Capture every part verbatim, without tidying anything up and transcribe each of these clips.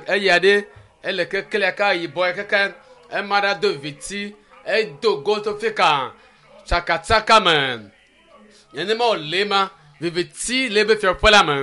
Eya ɖe ele keklẽ ka yibɔ keke ema ɖe do viviti edo go to fi ka tsakatsaka me. Nenema wòle ma viviti le ebe fiaɖuƒe la me.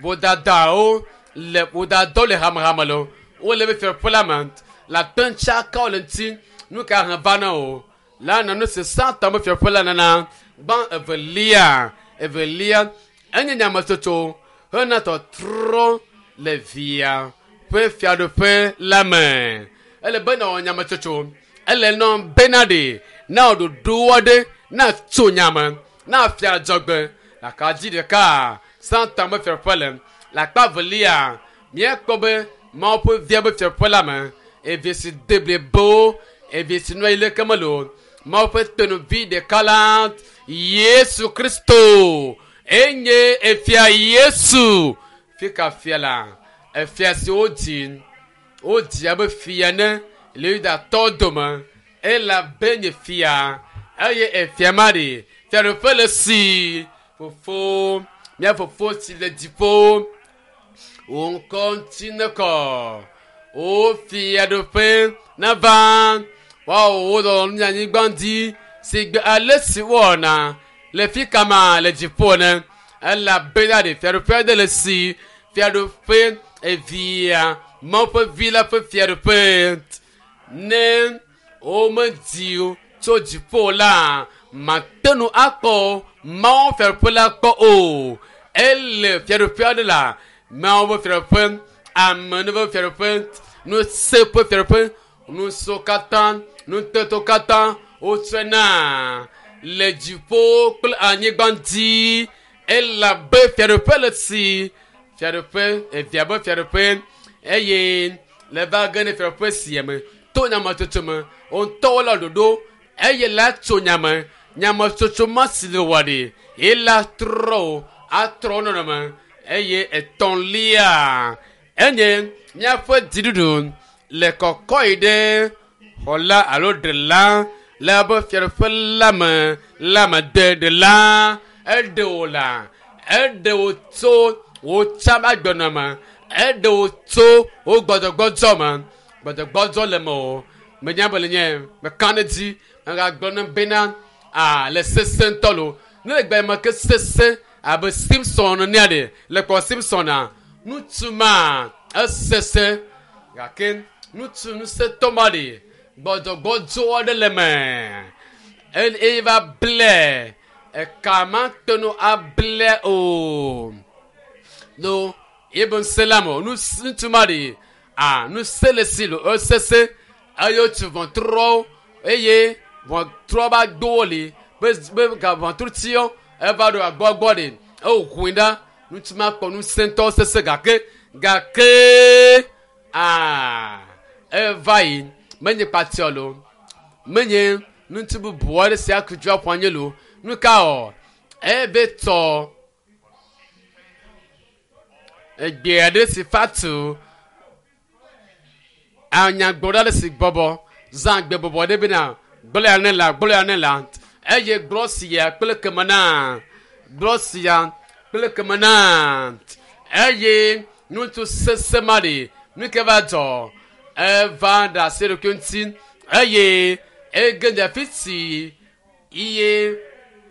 Vodadawo le vodadɔ le hamehame le wole ebe fiaɖuƒe la me le ate tsaka le ŋuti nu ka hẽ va na o la nɔ nu si Satan be fiaɖuƒe la nana gbã evelia evelia enye nyametsotso hena tɔtrɔ le via ƒe fiaɖuƒe la me. Ele be nawɔ nyametsotso ele nɔ bena ɖe na wò ɖoɖo aɖe na tso nyame na fia dzɔgbe le akadzi ɖeka Satan be fiaɖuƒe le le akpa velia míekpɔ be Mawu ƒe via be fiaɖuƒe la me evi si de blibo evi si nɔ anyi leke mele o Mawu ƒe tenuvi ɖeka la Yesu Kristo enye efia Yesu fi ka fia la efia si wodzi wodzi abe fia ene le Yudatɔwo dome elabe nye fia eye efia ma ɖe fiaɖuƒe le si fofo mía fofo si le dziƒo wò ŋkɔ ŋuti nekɔ wò fiaɖuƒe nava woawɔ wò lɔlɔ̃nu le anyigba dzi si gbe ale si wowɔna le fi kama le dziƒo ene elabena ɖe fiaɖuƒe aɖe le si fiaɖuƒe evia Mawu ƒe vi la ƒe fiaɖuƒe ne womedzi o tso dziƒo la mate ŋu akpɔ Mawu fiaɖuƒe la kpɔ o ele fiaɖuƒe aɖe la Mawu ƒe fiaɖuƒe ame ƒe fiaɖuƒe ŋusẽ ƒe fiaɖuƒe nusiwo katã nutetewo katã wotsɔe na le dziƒo kple anyigba dzi elabe fiaɖuƒe le si fiaɖuƒe evia be fiaɖuƒe eye le va ge ne fiaɖuƒe sia me to nyametsotso me wo ŋutɔwo le ɖoɖo eye la tso nyame nyametsotso ma si le wɔ ɖi ye la trɔ o atrɔ nɔnɔme eye etɔ̃lia enye míaƒe dziɖuɖu le kɔkɔ yi ɖe xɔla alo ɖela le eƒe fiaɖuƒe la me la me de ɖela eɖe wò la eɖe wò tso wò tsã agbenɔme eɖe wò tso wò gbɔdzɔgbɔdzɔ me gbɔdzɔgbɔdzɔ le me o menya be le nye meka ɖe dzi megagblɔ ne bena a le sese ŋutɔ lo ne le gbe me ke sese abe Simpson nenea ɖe le kpɔ Simpson a ŋutsu ma esese gake ŋutsu ŋusẽtɔ ma ɖe gbɔdzɔgbɔdzɔ aɖe le me eye va ble eka ma te ŋu able o lo ebe ŋusẽ la me o ŋutsu ma ɖe a ŋusẽ le si lo esese eye wotsu ʋɔtruwo eye ʋɔtrua va gbowo li be be ga ʋɔtrutiwo eva ɖo agbɔgbɔ ɖe ewoʋui ɖa ŋutsu ma kpɔ ŋusẽtɔ sese gake gake aa eva yi menye kpatiɔ lo menye ŋutsu bubu aɖe si aku dzu aƒu anyi lo nu ka wɔ ebe tɔ egbe aɖe si fa tu anyagbɔ ɖe si bɔbɔ zã gbe bɔbɔ ɖe bena gblɔ ya ne la gblɔ ya ne la eye gblɔ sia kple keme na gblɔ sia kple keme na eye ŋutsu sese ma ɖe nu ke va dzɔ eva ɖe asi ɖokui ŋuti eye ege ɖe afi si iye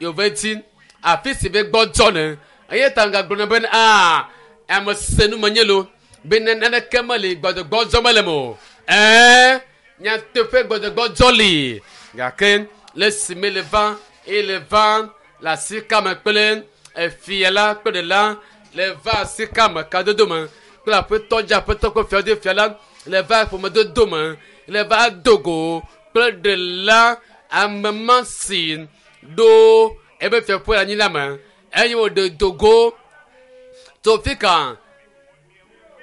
yove dzi afi si be gbɔdzɔ ne eye ta gagblɔ ne bena aa ame se nu menye lo be naneke meli gbɔdzɔgbɔdzɔ mele me o ɛɛ nyateƒe gbɔdzɔgbɔdzɔ li gake le si me le va eye le va le asika me kple efia la kple ɖela le va asika me kadodo me kple aƒetɔ dzi aƒetɔ kple fiawo fia la le va ƒomedodo me le va dogo kple ɖela ame ma si ɖo ebe fiaƒe anyi la me eye wòɖe dogo tso fi ka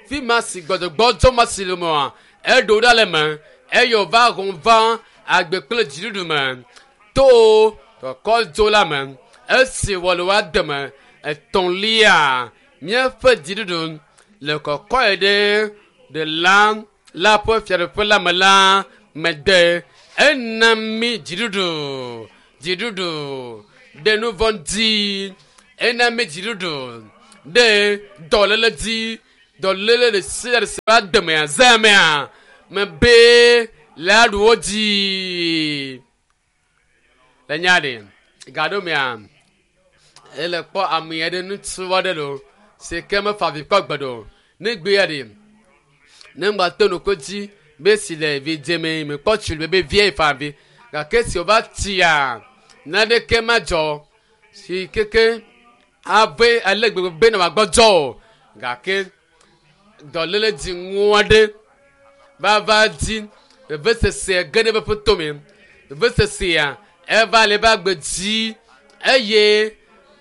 fi ma si gbɔdzɔgbɔdzɔ ma si le mea eɖo ɖa le me eye wòva hɔn va agbe kple dziɖuɖu me to kɔkɔdzo la me esi wɔ le woa deme etɔ̃lia míaƒe dziɖuɖu le kɔkɔe ɖe ɖela la ƒe fiaɖuƒe la me la mede ena mí dziɖuɖu dziɖuɖu ɖe nu vɔ̃ dzi ena mí dziɖuɖu ɖe dɔléle dzi Dɔléle ɖe sia ɖe si va demea zãmea me be le aɖu wo dzi. Le nya ɖe gaɖomea ele kpɔ ame aɖe ŋutsu aɖe lo si ke mefa avi kpɔ gbe ɖo. Ne gbea ɖe ne ŋgba to nuko dzi be si le vi dzeme me kpɔ tsi le be vie fa avi gake si wòva tsia naneke madzɔ si keke ave ale gbegbe be na wòagbɔdzɔ o gake dɔléle dziŋu aɖe va va dzi vevesese ge ɖe eƒe tome vevesesea eva le eƒe agbe dzi eye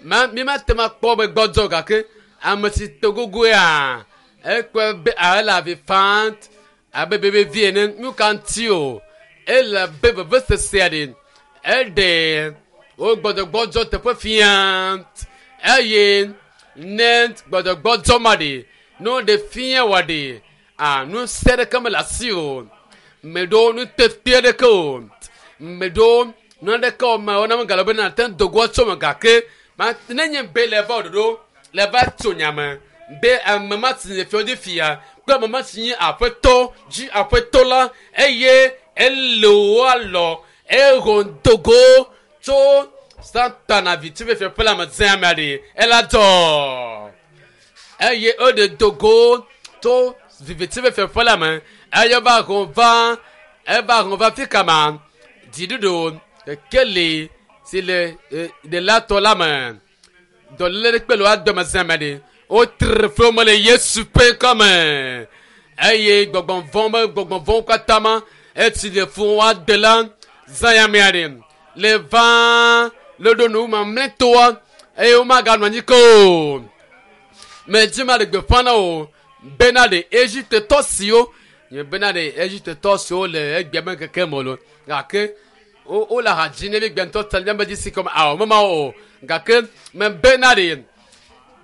ma mi mate ŋu akpɔ be gbɔdzɔ o gake ame si to gogoea ekpɔe be ele avi fam abe bebe vi ene nu ka ŋuti o ele be vevesesea ɖe eɖe wo gbɔdzɔgbɔdzɔ teƒe fia eye ne gbɔdzɔgbɔdzɔ ma ɖe ne woɖe fia wɔ ɖe a ŋusẽ ɖeke mele asi o meɖo nutete ɖeke o meɖo nu aɖeke o ma wona megale be nate ŋu dogo tso me gake ma ne nye be le va ɖoɖo le va tso nyame be ame ma si le fiɔ dzi fia kple ame ma si nye aƒetɔ dzi aƒetɔ la eye ele wo alɔ eho dogo tso satana viti ƒe fiaƒe la me zẽ amea ɖe ela dzɔ eye eɖe dogo tso viviti ƒe fiaƒe la me eye va ho va eva ho va fi kama dziɖuɖu kekeli si le ɖelatɔ la me dɔléle ɖe kpe le woa dome zẽ ame ɖe wotre flo me le Yesu ƒe ŋkɔme eye gbɔgbɔ vɔ̃ be gbɔgbɔ vɔ̃wo katã ma etsi le fún wa de la zã ya mea ɖe le va le ɖo nu mamlɛtɔa eye womaganɔ anyi ke o medzi ma ɖe gbeƒã na o bena ɖe Egiptetɔ siwo nye bena ɖe Egiptetɔ siwo le egbea me keke me lo gake wo wole ha dzi ne mi gbɛntɔ ta míabe dzi si kɔme awɔ mema o gake me bena ɖe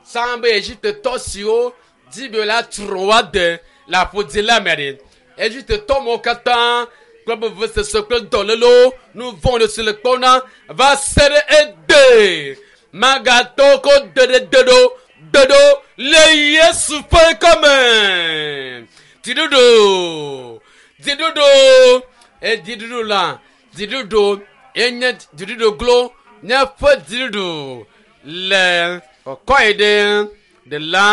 tsã be Egiptetɔ siwo dzi be la trɔ wa de le aƒodzi la me ɖe Egiptetɔ mawo katã kple vevesese kple dɔlélewo nu vɔ̃ ɖe si le kpɔm na va se ɖe egbe magatɔ ko de ɖe de ɖo de ɖo le Yesu ƒe ŋkɔme dziɖuɖu dziɖuɖu edziɖuɖu la dziɖuɖu enye dziɖuɖu glo nye ƒe dziɖuɖu le kɔkɔe ɖe ɖela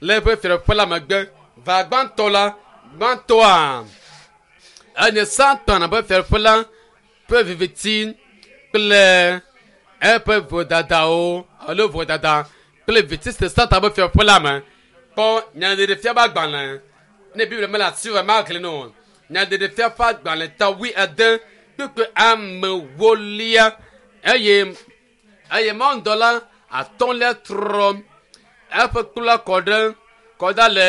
le eƒe fiaɖuƒe la megbe va gbãtɔ la gbãtɔa enye Satana ƒe fiaɖuƒe la ƒe viviti kple eƒe vodadawo alo vodada kple viviti si Satana ƒe fiaɖuƒe la me kpɔ nyaɖeɖefia ƒe agbalẽ ne Biblia mele asi o maxlẽ no nyaɖeɖefia ƒe agbalẽ ta wui ade kpukpui amewolia eye eye mawudɔla atɔ̃lia trɔ eƒe kplu la kɔ ɖe kɔ da le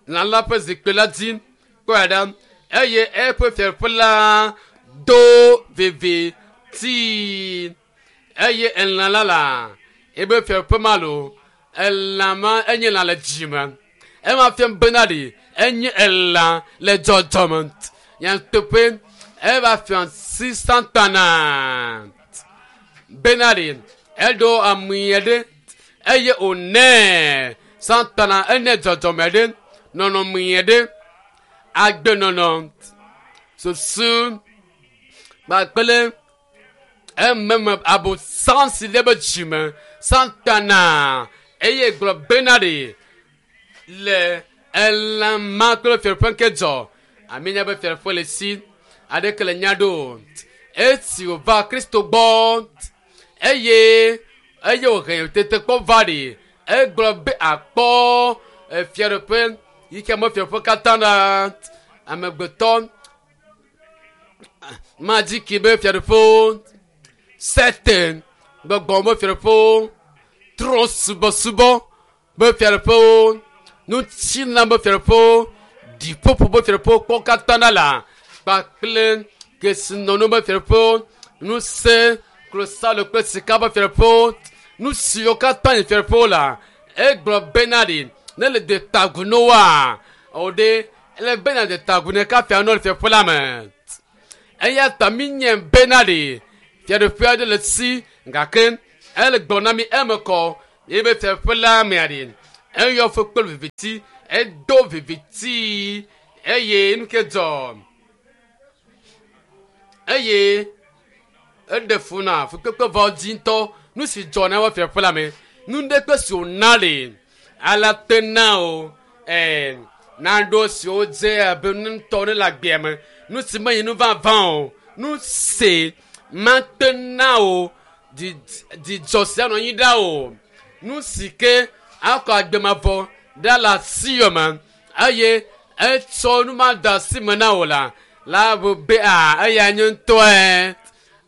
lã la ƒe zikpui la dzi kpɔe ɖa eye eƒe fiaɖuƒe la do viviti eye elã la la ebe fiaɖuƒe ma lo elã ma enye lã le dzime ema fia bena ɖe enye elã le dzɔdzɔme nyateƒe eva fia si Satana bena ɖe eɖo ame aɖe eye wònɛ Satana ene dzɔdzɔme ɖe nɔnɔme ɖe agbenɔnɔ susu kpakple ememe abosam si le be dzime Satana eye gblɔ bena ɖe le elã ma kple fiaɖuƒe ke dzɔ ame nya be fiaɖuƒe le si aɖeke le nya ɖo esi wòva Kristo gbɔ eye eye wòhe tetekpɔ va ɖe egblɔ be akpɔ fiaɖuƒe yi ke me fiaɖuƒe katã la amegbetɔ madziki be fiaɖuƒewo sete gbɔgbɔ be fiaɖuƒewo trɔ subɔsubɔ be fiaɖuƒewo nutsina be fiaɖuƒewo ɖiƒoƒo be fiaɖuƒewo kpɔ katã ɖa la kpakple kesinɔnu be fiaɖuƒewo ŋusẽ klosalo kple sika be fiaɖuƒewo nu siwo katã nye fiaɖuƒewo la egblɔ bena ɖe ne le de tagu no wa o ɖe ele bena de tagu ne kafia no le fiaɖuƒe la me eya ta mi nye bena ɖe fiaɖuƒe aɖe le si gake ele gblɔ na mi eme kɔ eye be fiaɖuƒe la mea ɖe Eyɔ fo kple viviti, edo viviti eye nu ke dzɔ. Eye eɖe fu na fukpekpe vɔ dzi ŋutɔ. Nu si dzɔ na eƒe fiaƒe la me, nu ɖe kpe si wòna le ala te na o ɛɛ naɖo siwo dze abe nu ŋutɔ ne le agbea me, nu si menye nu vavã o, nu si mate na o dzidzɔ sia nɔ anyi ɖa o, nu si ke akɔ agbemavɔ ɖa le asiwò me eye etsɔ nu ma de asi me na wò la la bu be a eya nye ŋutɔe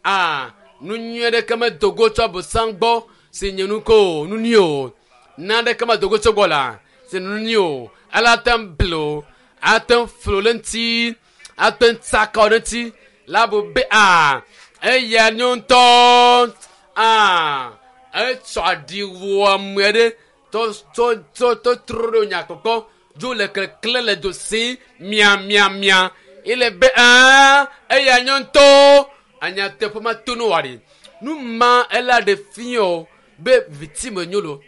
a nu nyui ɖeke medo go tso abosam gbɔ si nye nu ko o nu nyui o naneke medo go tso gbɔ la si nu nyui o ele ate ŋu ble o ate ŋu flo ɖe ŋuti ate ŋu tsaka wo ɖe ŋuti la bu be a eya nye ŋutɔ a etsɔ aɖi wɔ ame ɖe tɔ tɔ tɔ tɔ trɔ ɖe nyakpɔkpɔ dzo le klekle le do si mia mia mia ele be a eya nye ŋutɔ anyateƒe ma to no wa ɖi nu ma ela ɖe fia o be viviti me nyo lo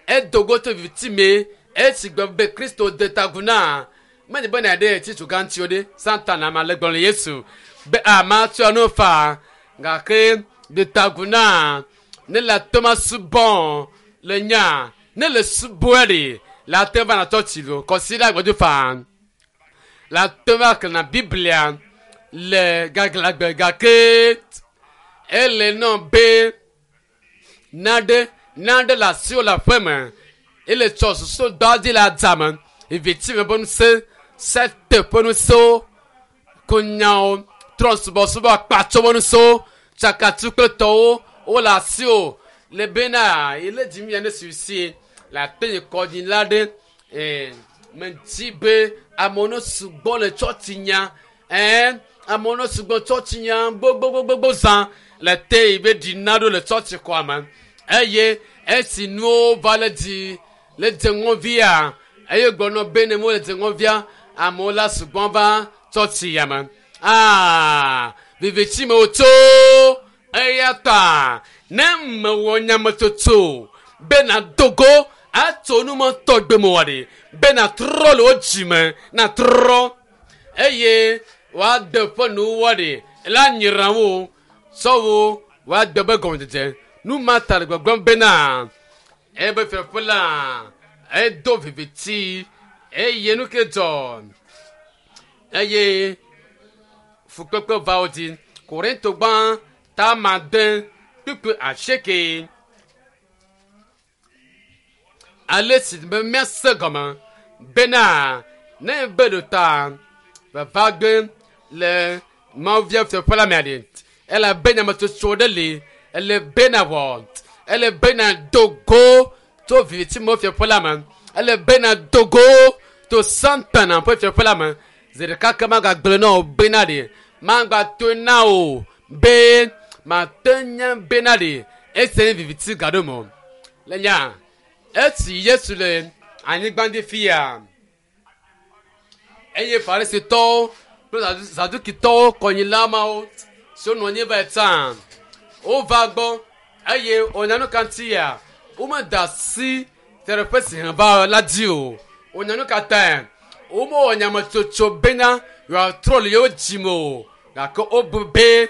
edo go tso viviti me esi gbe be Kristo de ta agu na menye be na ɖe tsitsu gã ŋuti o ɖe Satana ma le gblɔ le Yesu be ama tsɔ no fa gake de ta agu na ne le ate ma subɔ le nya ne le subɔe ɖe le ate va na tsɔtsi lo kɔsi ɖe agbɔdzo fa le ate va xlẽna Biblia le gaglãgbe gake ele nɔ be naɖe naɖe le asiwò le aƒe me ele tsɔ susu dɔ dzi le adzame viviti me ƒe ŋusẽ sete ƒe ŋusẽwo konyawo trɔsubɔsubɔ akpatso ƒe ŋusẽwo tsakatu kple tɔwo wole asiwò le bena ele dzi mia ne susie le ate yi kɔdzi la ɖe ee medzi be amewo ne sugbɔ le tsɔtsi nya ɛɛ amewo ne sugbɔ tsɔtsi nya gbogbogbogbo zã le te yi be ɖina ɖo le tsɔtsi xɔa me eye esi nuwo va le dzi le dze ŋɔvia eye gblɔnɔ be ne mo le dze ŋɔvia amewo la sugbɔ va tsɔtsi ya me aa viviti me wotso eya ta ne mewɔ nyametsotso be na dogo atso nu ma tɔgbe me wɔ ɖi be na trɔ le wo dzime na trɔ eye woade ƒe nuwo ɖi la nyra wo sɔwo woade be gɔmedzedze nu ma ta le gbɔgblɔm bena ebe fiaƒe la edo viviti eye nu ke dzɔ eye fukpekpe va wo dzi Korinto gbã ta ade kpukpui asieke ale si be míase gɔme bena ne be ɖo ta vava gbe le mawuvia fiaƒe la mea ɖe ele be nyametsotso ɖe li ele be na wɔ ele be na do go tso viviti me fiaƒe la me ele be na do go to Satana ƒe fiaƒe la me zi ɖeka ke magagblẽ na wò bena ɖe magba to na wò be mate nya bena ɖe ese nye viviti gaɖo me o le nya esi Yesu le anyigba dzi fia eye Farisitɔwo kple Zadukitɔwo kɔnyila mawo siwo nɔ anyi va yi tsã wova gbɔ eye wonya nu ka ŋuti ya womeda asi fiaɖuƒe si hẽ va la dzi o wonya nu ka tae womewɔ nyametsotso bena yewoatrɔ le yewo dzime o gake wobu be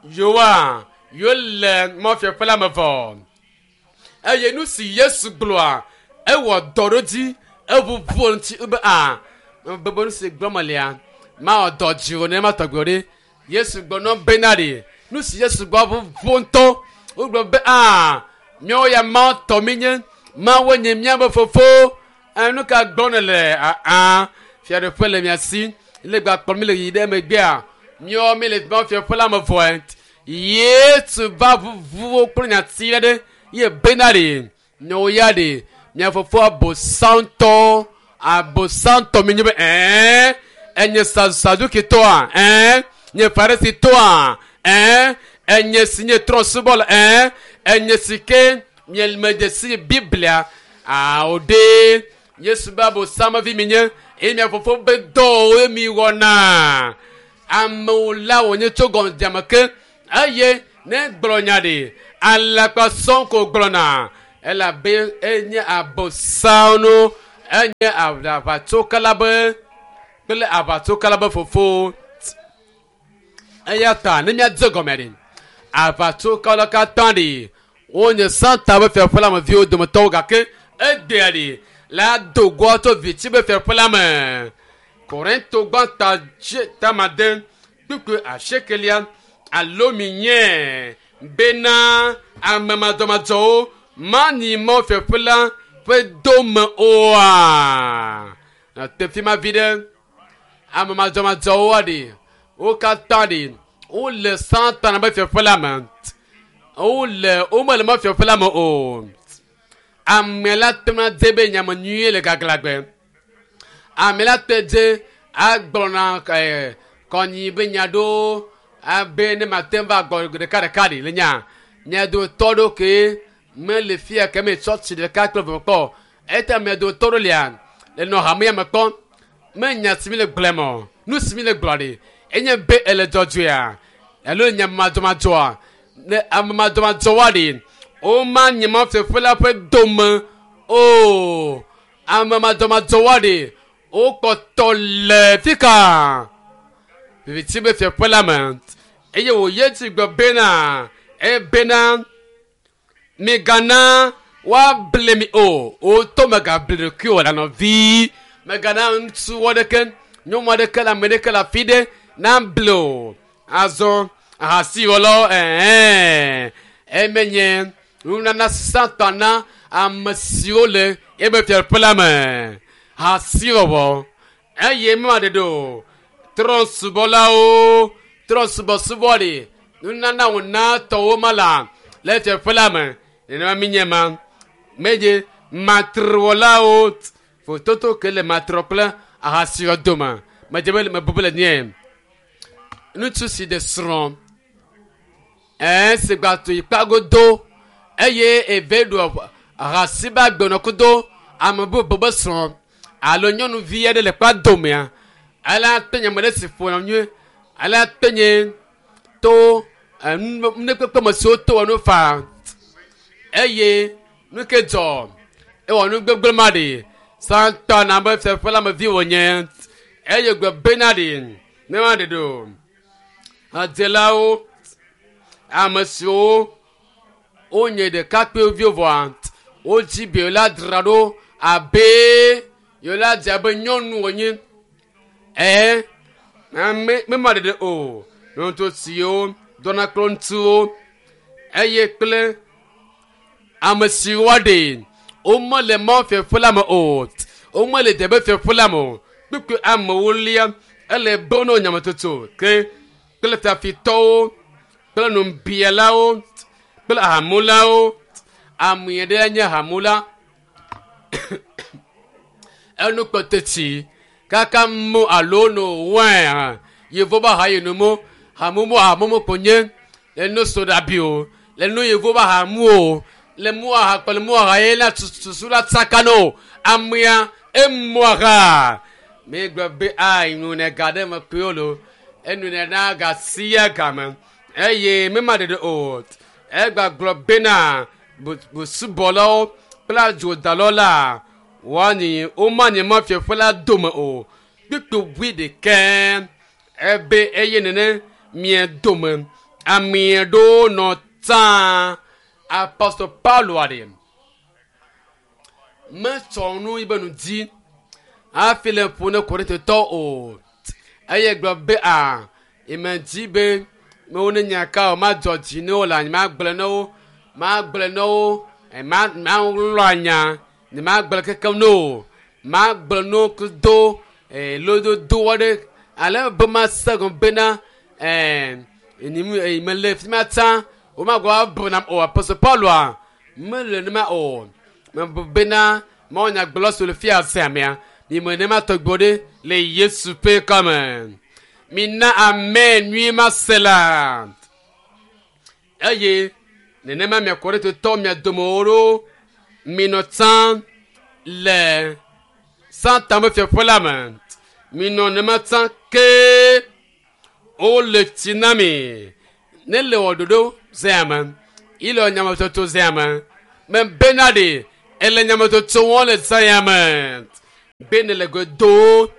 yewoa yewole mɔfiaƒe la me vɔ eye nu si Yesu gblɔa ewɔ dɔ ɖo dzi eʋuʋu ŋuti be a bebe nu si gblɔm lia mawɔ dɔ dzi o ne ma tɔgbe o ɖe Yesu gblɔ nɔ bena ɖe nu si Yesu gblɔ ʋuʋu ŋutɔ wogblɔ be a míawo ya Mawu tɔ mi nye Mawu nye míaƒe fofo nu ka gblɔm nèle aa fiaɖuƒe le mia si le gba kplɔ mi le yi ɖe megbea míawo mi le Mawu fiaɖuƒe la me vɔe Yesu va ʋuʋu kple nyati ɖe ye bena ɖe míawo ya ɖe mia fofo abosantɔ abosantɔ mi nye be ɛɛ enye Sadukitɔa ɛɛ nye Farisitɔa ɛɛ enye si nye trɔ̃subɔla ɛɛ enye si ke miemedze si Biblia awo ɖe Yesu be abosamevi mi nye eye mia fofo be dɔwo mi wɔna amewo la wònye tso gɔmedzame ke eye ne gblɔ nya ɖe alakpa sɔŋ ko gblɔna Elabe enye abosano enye aʋatsokala be kple aʋatsokala be fofo. Eya ta ne míadze gɔme ɖi aʋatsokala katã ɖi wonye Satan be fiaƒe la me viwo dometɔwo gake egbea ɖi la do goa tso viti be fiaƒe la me. Korinto gbãtɔ tamade kpukpui asiekelia alo mi nye bena ame madzɔmadzɔwo manyi Mawu fiaƒe la ƒe dome oa. Te fi ma vi ɖe ame madzɔmadzɔwoa ɖi wo katã ɖi wole Satana be fiaƒe la me. Wole womele Mawu fiaƒe la me o. Ame la te ŋu adze be nyame nyuie le gaglãgbe. Ame la te dze agblɔna ɛɛ kɔnyi be nya ɖewo abe ne mate ŋu va gbɔ ɖeka ɖeka ɖi le nya. Mia dometɔ ɖewo ke mele fia ke me tsɔtsi ɖeka kple eve kpɔ. Eya mia dometɔ ɖewo lia le nɔ hamea me kpɔm. Me nya si mi le gblɔm o. Nu si mi le gblɔ ɖi enye be ele dzɔdzɔea alo nya madzɔmadzɔa. Ne ame madzɔmadzɔwoa ɖi womanyi Mawu fiaƒe la ƒe dome o. Ame madzɔmadzɔwoa ɖi wokpɔtɔ le fi ka viviti be fiaƒe la me eye wòye dzi gblɔ bena ebena migana woable mi o. Wotɔ megable ɖokuiwò le nɔvi. Megana ŋutsu aɖeke nyɔnu aɖeke le ame ɖeke le afi ɖe nable o. Azɔ ahasiwɔlawo ɛɛ emenye nunana Satana ame siwo le ebe fiaƒe la me. Ahasiwɔwɔ eye mema ɖeɖe o. Trɔ̃subɔlawo trɔ̃subɔsubɔ ɖi nunana wòna tɔwo ma la le fiaƒe la me. Nenema mi nye ma. Medze matrewɔlawo fototo ke le matrɔ kple ahasiwɔ dome. Medze be mebu be le nye. Ŋutsu si ɖe srɔ̃ ɛɛ si gba to yi kpagodo eye eve ɖu ahasi be agbenɔ kudo ame bubu be srɔ̃ alo nyɔnuvi aɖe le kpa domea ala te nye ame ɖe si ƒona nyuie ala te nye to nukpekpe me siwo to wɔ nu faa eye nu ke dzɔ ewɔ nu gbegblẽ ma ɖi Satana be fiaƒe la me vi wònye eye gbe bena ɖi ne ma ɖe ɖo hadzelawo ame siwo wonye ɖekakpuiviwo vɔa wodzi be yewo la dzra ɖo abe yewo la dze abe nyɔnu wònye ɛɛ ame mema ɖeɖe o. Ŋutsu siwo dɔna kple ŋutsuwo eye kple ame siwo ɖe womele Mawu fiaƒe la me o. Womele debe fiaƒe la me o. Kpukpui amewo lia ele be wonɔ nyametsotso ke kple fiafitɔwo kple nubialawo kple ahamulawo. Ame ɖe nye ahamula enu kpɔteti kaka mu alo no wɛn yevo be aha yi nu mu hamumu ahamumu ko nye le no soda bi o le no yevo be ahamu o le mu aha kple mu aha ye la susu la tsaka no amea emu aha mi gblɔ be a nu ne ga ɖe me kpe wo lo enu ne na ga sia game eye mi ma ɖeɖe o. Egba gblɔ bena busubɔlawo kple adzodalawo la woanyi womanyi Mawu fiaƒe la dome o. Kpukpui bui ɖekɛ ebe eye nene mia dome ame ɖewo nɔ tsã. Apostol Paulo aɖe metsɔ nu yi be nu dzi hafi le ƒo ne Korintotɔwo o. Eye gblɔ be a eme dzi be mewo ne nya ka o madzɔ dzi ne wo le anyi magblɔ ne wo magblɔ ne wo ma malɔ anya ne magblɔ kekem ne o magblɔ ne wo do lododo aɖe ale be mase gɔme bena ɛɛ mele fi ma tsã womagblɔ abu nam o. Apostol Pauloa mele nema o. Mebu bena Mawu nyagblɔ si le fia se amea mi me nema tɔgbe ɖe le Yesu ƒe kɔme. Mina ame nyui ma se la eye nenema mia Korintotɔwo mia domewo ɖo minɔ tsã le Satan be fiaƒe la me. Minɔ nema tsã ke wole tsi na mi ne le wɔ ɖoɖo zea me ile nyametsotso zea me Me bena ɖe ele nyametsotso wɔm le zã ya me be ne le go do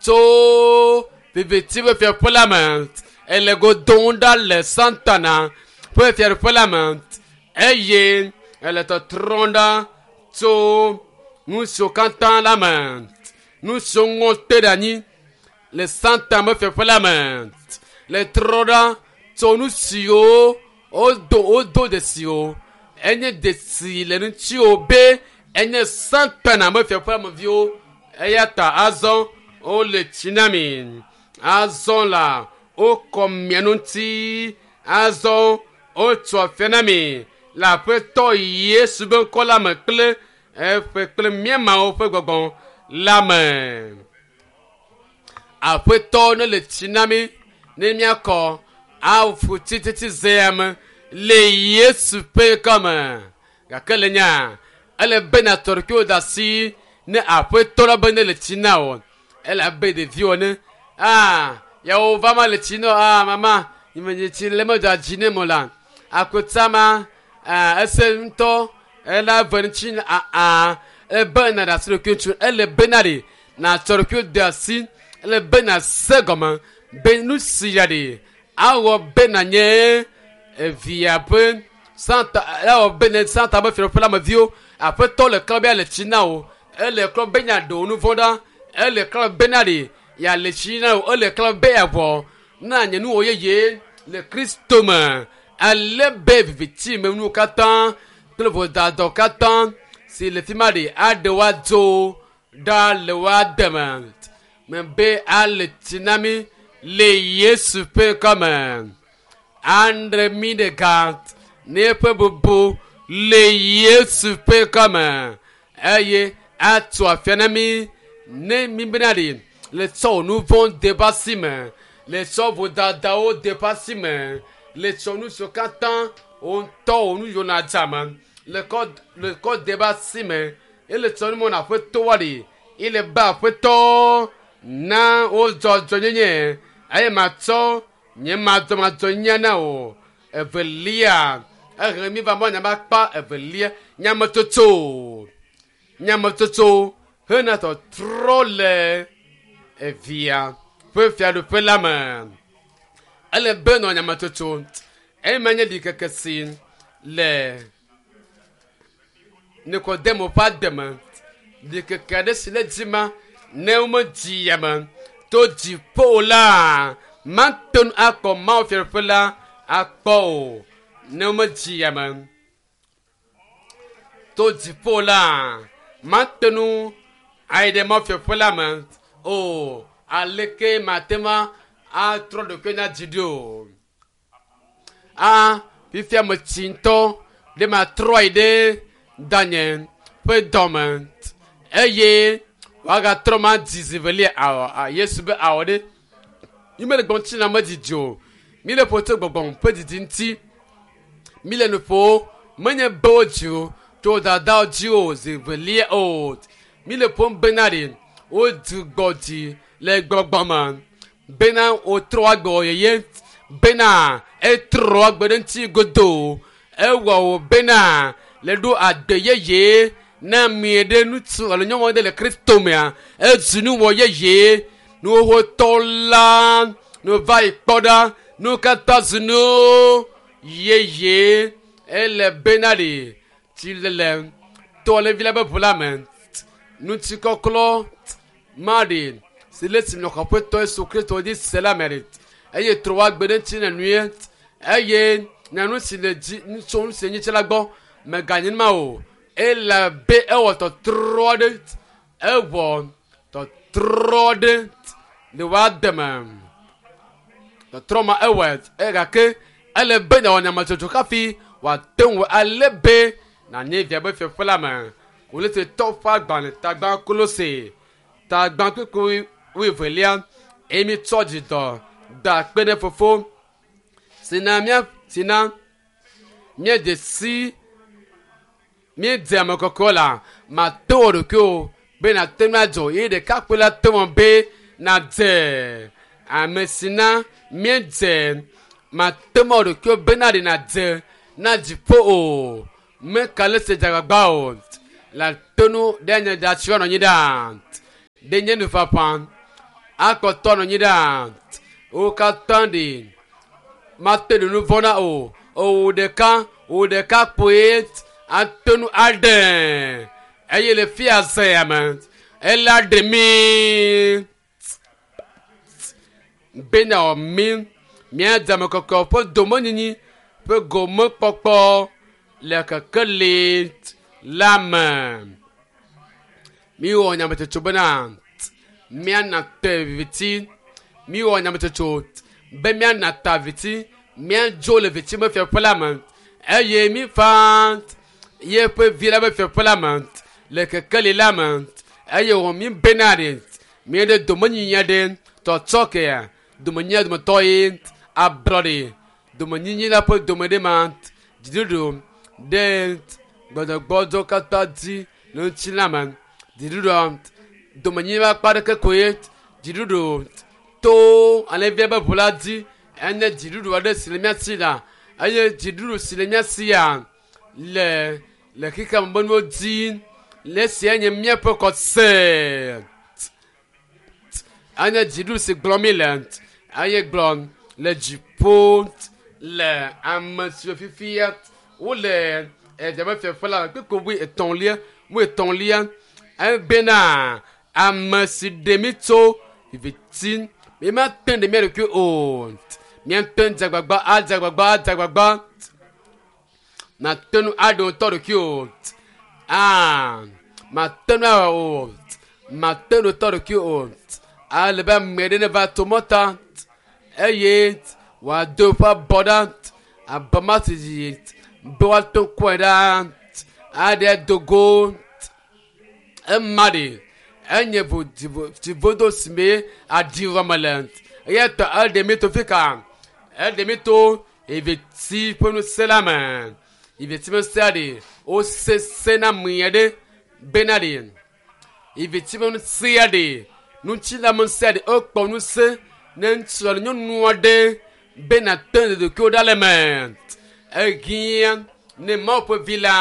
tso viviti ƒe fiaƒe la me ele go dom ɖa le Satana ƒe fiaɖuƒe la me eye ele tɔtrɔm ɖa tso nu siwo katã la me nu siwo ŋɔ te ɖe anyi le Satana ƒe fiaƒe la me le trɔ ɖa tso nu siwo wodo wodo dzesiwo enye dzesi le ŋutiwo be enye Satana ƒe fiaƒe la me viwo eya ta azɔ wole tsi na mi azɔ la wokɔ mia ŋuti azɔ wotso afia na mi le aƒetɔ Yesu ƒe ŋkɔ la me kple eƒe kple míamawo ƒe gbɔgbɔ la me. Aƒetɔ ne le tsi na mi ne míakɔ afu tititi zea me le Yesu ƒe ŋkɔ me. Gake le nya ele be nàtɔ ɖokuiwò da asi ne aƒetɔ la be ne le tsi na wò ele abe ɖeviwo ne aa yawo va ma le tsi na aa mama nye tsi le medzɔ dzi ne mo la akota ma aa ese ŋutɔ ela ve ŋuti aa ele be na ɖe asi ɖokui ŋuti ele be na ɖe nàtsɔ ɖokuiwò de asi ele be na se gɔme be nu si ya ɖe awɔ be nanye evia ƒe Santa awɔ be ne Santa ƒe fiaɖuƒe la me viwo aƒetɔ le klɔ be le tsi na wo ele klɔ be nya ɖe wo nu vɔ̃ ɖa ele klɔ be na ɖe ya le tsi na wo ele klɔ be ya vɔ na nye nuwɔ yeye le Kristo me ale be viviti me nuwo katã kple vodadɔ katã si le fi ma ɖe aɖe wa dzo ɖa le wa deme me be ale tsi na mi le Yesu ƒe ŋkɔ me andre mi ɖeka ne eƒe bubu le Yesu ƒe ŋkɔ me eye atso afia na mi ne mi bena ɖe le tsɔ nu vɔ̃ de ƒe asi me le tsɔ vodadawo de ƒe asi me le tsɔ nu siwo katã wo ŋutɔ wo nu yiwo na dza me le kɔ le kɔ de ƒe asi me ele tsɔ nu mɔ na aƒetɔ wa ɖe ele be aƒetɔ na wo dzɔdzɔnyenye eye matsɔ nye madzɔmadzɔnyenye na o evelia ehe mi va mɔ nyama kpa evelia nyametsotso nyametsotso hena tɔtrɔ le evia ƒe fiaɖuƒe la me ele be nɔ nyametsotso eye menye ɖikeke si le Nikodemo ƒe ademe ɖikeke aɖe si le dzi ma ne womedzi yame to dziƒo la mate ŋu akpɔ Mawu fiaɖuƒe la akpɔ o ne womedzi yame to dziƒo la mate ŋu ayi ɖe Mawu fiaɖuƒe la me o aleke mate ŋu atrɔ ɖokui na dzi ɖo o a fifia metsi ŋutɔ ɖe matrɔ ayi ɖe danye ƒe dɔme eye wòagatrɔ ma dzi zi velia awɔ Yesu be awɔ ɖe mi mele gbɔm tsi na me dzidzi o mi le ƒo tso gbɔgbɔm ƒe didi ŋuti mi le nu ƒo menye be wo dzi o tso dadawo dzi o zi velia o mi le ƒom bena ɖe wodzu gbɔ dzi le gbɔgbɔ me bena wotrɔ agbe wɔ yeye bena etrɔ agbe ɖe ŋuti godoo ewɔ wo bena le ɖo agbe yeye na mi ɖe ŋutsu alo nyɔnu ɖe le Kristo mea ezu nuwɔ yeye nuwotɔ la nu va yi kpɔ ɖa nu katã zu nu yeye ele bena ɖe tsi lele tɔ le vi la be ʋu la me ŋutikɔklɔ ma ɖe si le si nɔ xɔƒetɔ Yesu Kristo dzi se la me ɖe eye trɔ wa gbe ɖe ŋuti ne nue eye na nu si le dzi tso nu si nyitsi la gbɔ meganye ma o ele be ewɔ tɔtrɔ ɖe ewɔ tɔtrɔ ɖe le wa deme tɔtrɔ ma ewɔ e gake ele be na wɔ nyametsotso hafi wòate ŋu ale be nanye via be fiaƒe la me Kolose tɔ ƒe agbalẽ tagba Kolose tagba kpekpe wuievelia eye mi tsɔ dzidɔ da akpe ɖe fofo si na mía si na míedze si míedze ame kɔkɔe la mate wɔ ɖokuiwò be nàte ŋu adzɔ ye ɖekakpui la te wɔ be nàdze ame si na míedze mate ŋu awɔ ɖokuiwò be na ɖe nàdze na dziƒo o Meka le se dzagbagba o la tonu ɖe nye dzatsiwo nɔ anyi ɖa ɖe nye nufafa akɔtɔ nɔ anyi ɖa wo katã ɖe mate ɖe nu vɔ na o o ɖeka o ɖeka kpoe atonu aɖe eye le fia zea me ela ɖe mi bena wɔ mi mía dzame kɔkɔ ƒe domenyinyi ƒe gomekpɔkpɔ le kekeli la me miwɔ nyametsotso bena míana te viviti miwɔ nyametsotso be míana ta viviti míadzo le viviti me fiaƒe la me eye mífa yeƒe vi la be fiaƒe la me le kekeli la me eye wɔ mi bena ɖe míeɖe domenyinyi aɖe tɔtsɔ kea domenyinya dometɔ ye ablɔɖe domenyinyi la ƒe dome ɖe ma dziɖuɖu ɖe gbɔdɔgbɔdzɔ katã dzi le ŋuti la me dziɖuɖua domenyinyi ƒe akpa ɖeke koe dziɖuɖu to alẽvia be ʋu la dzi enye dziɖuɖu aɖe si le mía si la eye dziɖuɖu si le mía sia le le xexea me be nuwo dzi le esia nye míaƒe xɔse enye dziɖuɖu si gblɔm mi le eye gblɔ le dziƒo le ame siwo fifia wole evia be fiaƒe la me kpekpe wui etɔ̃lia wui etɔ̃lia ebena ame si ɖe mi tso viviti mi mate ɖe mía ɖokui o míate ŋu dze agbagba adze agbagba adze agbagba mate ŋu aɖe ŋutɔ ɖokui o aa mate ŋu awɔ o mate ŋu ŋutɔ ɖokui o ale be ame ɖe neva to mɔta eye wòado eƒe abɔ ɖa abɔ ma si dzi be woato kɔe ɖa aɖe do go ema ɖe enye vo dzivodo si me aɖi wɔme le eya ta eɖe mi to fi ka eɖe mi to eveti ƒe ŋusẽ la me eveti ƒe ŋusẽ ɖe wosese na mia ɖe bena ɖe eveti ƒe ŋusẽ ɖe ŋutilã ŋusẽ ɖe ekpɔ ŋusẽ ne ŋutsu alo nyɔnu aɖe bena te ɖokuiwo ɖa le me ehiã ne Mawu ƒe vi la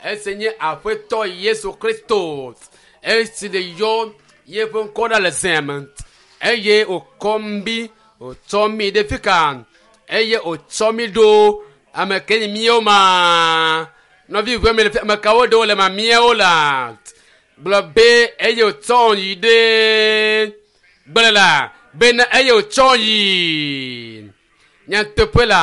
esi nye aƒetɔ Yesu Kristo esi le yɔ yeƒe ŋkɔ ɖa le zea me eye wòkɔ mi wòtsɔ mi ɖe fi ka eye wòtsɔ mi ɖo ame ke nye míawo ma nɔvi ʋe mi le fi ame kawo ɖewo le ma míawo la gblɔ be eye wòtsɔ yi ɖe gblɔ la bena eye wòtsɔ yi nyateƒe la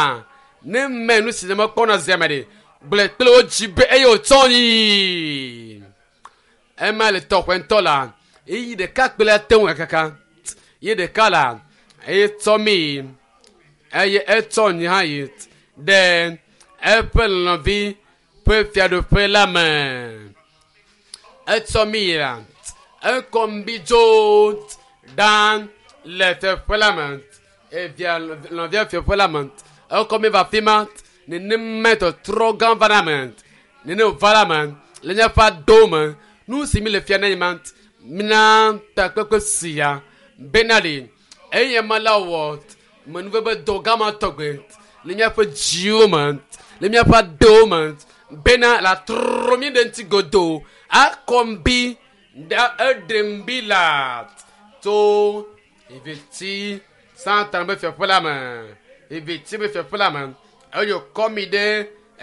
ne me nu si ne mekpɔna zea me ɖe gblɔ kple wo dzi be eye wòtsɔ yi ema le tɔƒe ŋutɔ la eyi ɖeka kple ate ŋu kaka ye ɖeka la eye tsɔ mi eye etsɔ nyi hã yi ɖe eƒe lɔlɔ̃vi ƒe fiaɖuƒe la me etsɔ mi yi la ekɔ mi dzo ɖa le fiaɖuƒe la me evia lɔ̃via fiaɖuƒe la me ekɔ mi va fi ma nenema tɔtrɔ gã va na me nene wòva la me le míaƒe adowo me nu si mi le fia na nye ma mina takpekpe sia bena ɖe eye ma la wɔ menuveve dɔ gã ma tɔgbe le míaƒe dziwo me le míaƒe adewo me bena la trɔ mi ɖe ŋuti godoo akɔ mbi ɖe eɖe mbi la tso eveti Satana be fiaƒe la me eveti be fiaƒe la me eye wòkɔ mi ɖe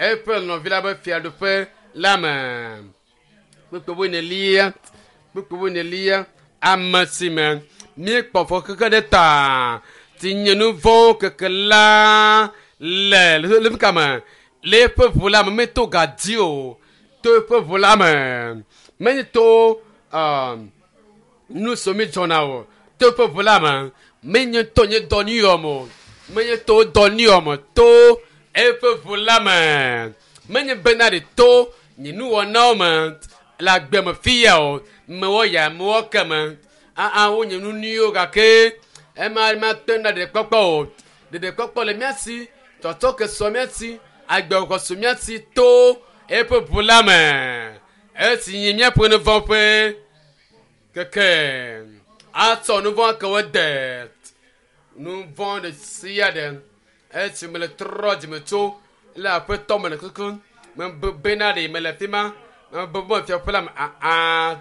eƒe lɔ̃vi la be fiaɖuƒe la me kpekpe wo nelia kpekpe wo nelia ame si me míekpɔ fɔ keke ɖe ta ti nye nu vɔ̃ keke la le le fi ka me le eƒe ʋu la me meto gadi o to eƒe ʋu la me menye to um, nu so mi dzɔna o to eƒe ʋu la me menye to nye dɔ nuyɔm o menye to dɔ nuyɔm o to eƒe ʋu la me menye bena ɖe to nye nuwɔnawo me le agbe me fia o mewɔ ya mewɔ ke me aa wonye nu nyuiwo gake ema ma te na ɖeɖekpɔkpɔ o ɖeɖekpɔkpɔ le mía si tɔtɔ ke sɔ mía si agbexɔ su mía si to eƒe ʋu la me esi nye míaƒe nu vɔ̃ ƒe keke atsɔ nu vɔ̃ ke wo de nu vɔ̃ ɖe sia ɖe esi me le trɔ dzime tso le aƒetɔ me le kuku Me bena ɖe mele fi ma. Me be fiaƒe la me aa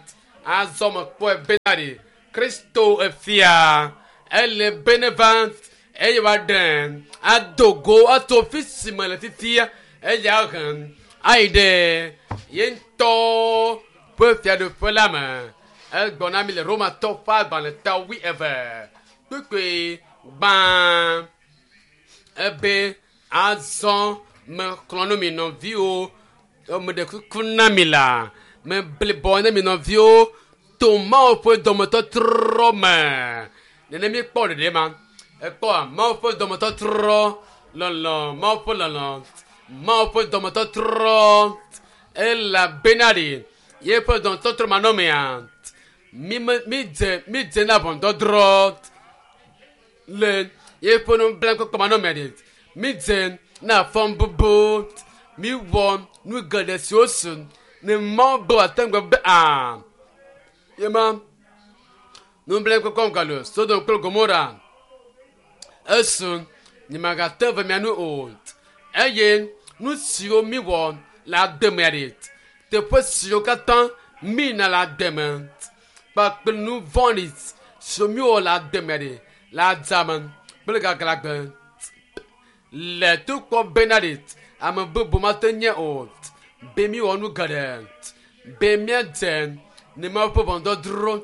azɔ me kpɔe bena ɖe Kristo efia ele bene va eye woaɖe ado go ato fi si me le fifia eye ahe ayi ɖe ye ŋutɔ ƒe fiaɖuƒe la me. Egbɔ na mi le Romatɔ ƒe agbalẽ ta wui eve kpukpui gbã ebe azɔ mexlɔ̃ nu mi nɔviwo meɖe kuku na mi la meblibɔ ne mi nɔviwo to Mawu ƒe dɔmetɔtrɔ me. Nene mi kpɔ ɖeɖe ma ekpɔa Mawu ƒe dɔmetɔtrɔ lɔlɔ Mawu ƒe lɔlɔ Mawu ƒe dɔmetɔtrɔ elabena ɖe yeƒe dɔmetɔtrɔ manɔmea mi me mi dze mi dze na ʋɔnudɔdrɔ̃ le yeƒe nublanukpɔkpɔ manɔmea ɖe mi dze na fɔbubu mi wɔ nu geɖe siwo su ne Mawu be wòate ŋu be aa yema nublanukpɔkpɔ galo Sodom kple Gomora esu nyemagate ve mia nu o eye nu siwo mi wɔ le ademea ɖe teƒe siwo katã mi na le ademe kpakple nu vɔ̃ɖi siwo mi wɔ le ademea ɖe le adzame kple gaglãgbe le tokpɔ bena ɖe ame bubu mate nye o be mi wɔ nu geɖe be míadze ne Mawu ƒe ʋɔnudɔdrɔ̃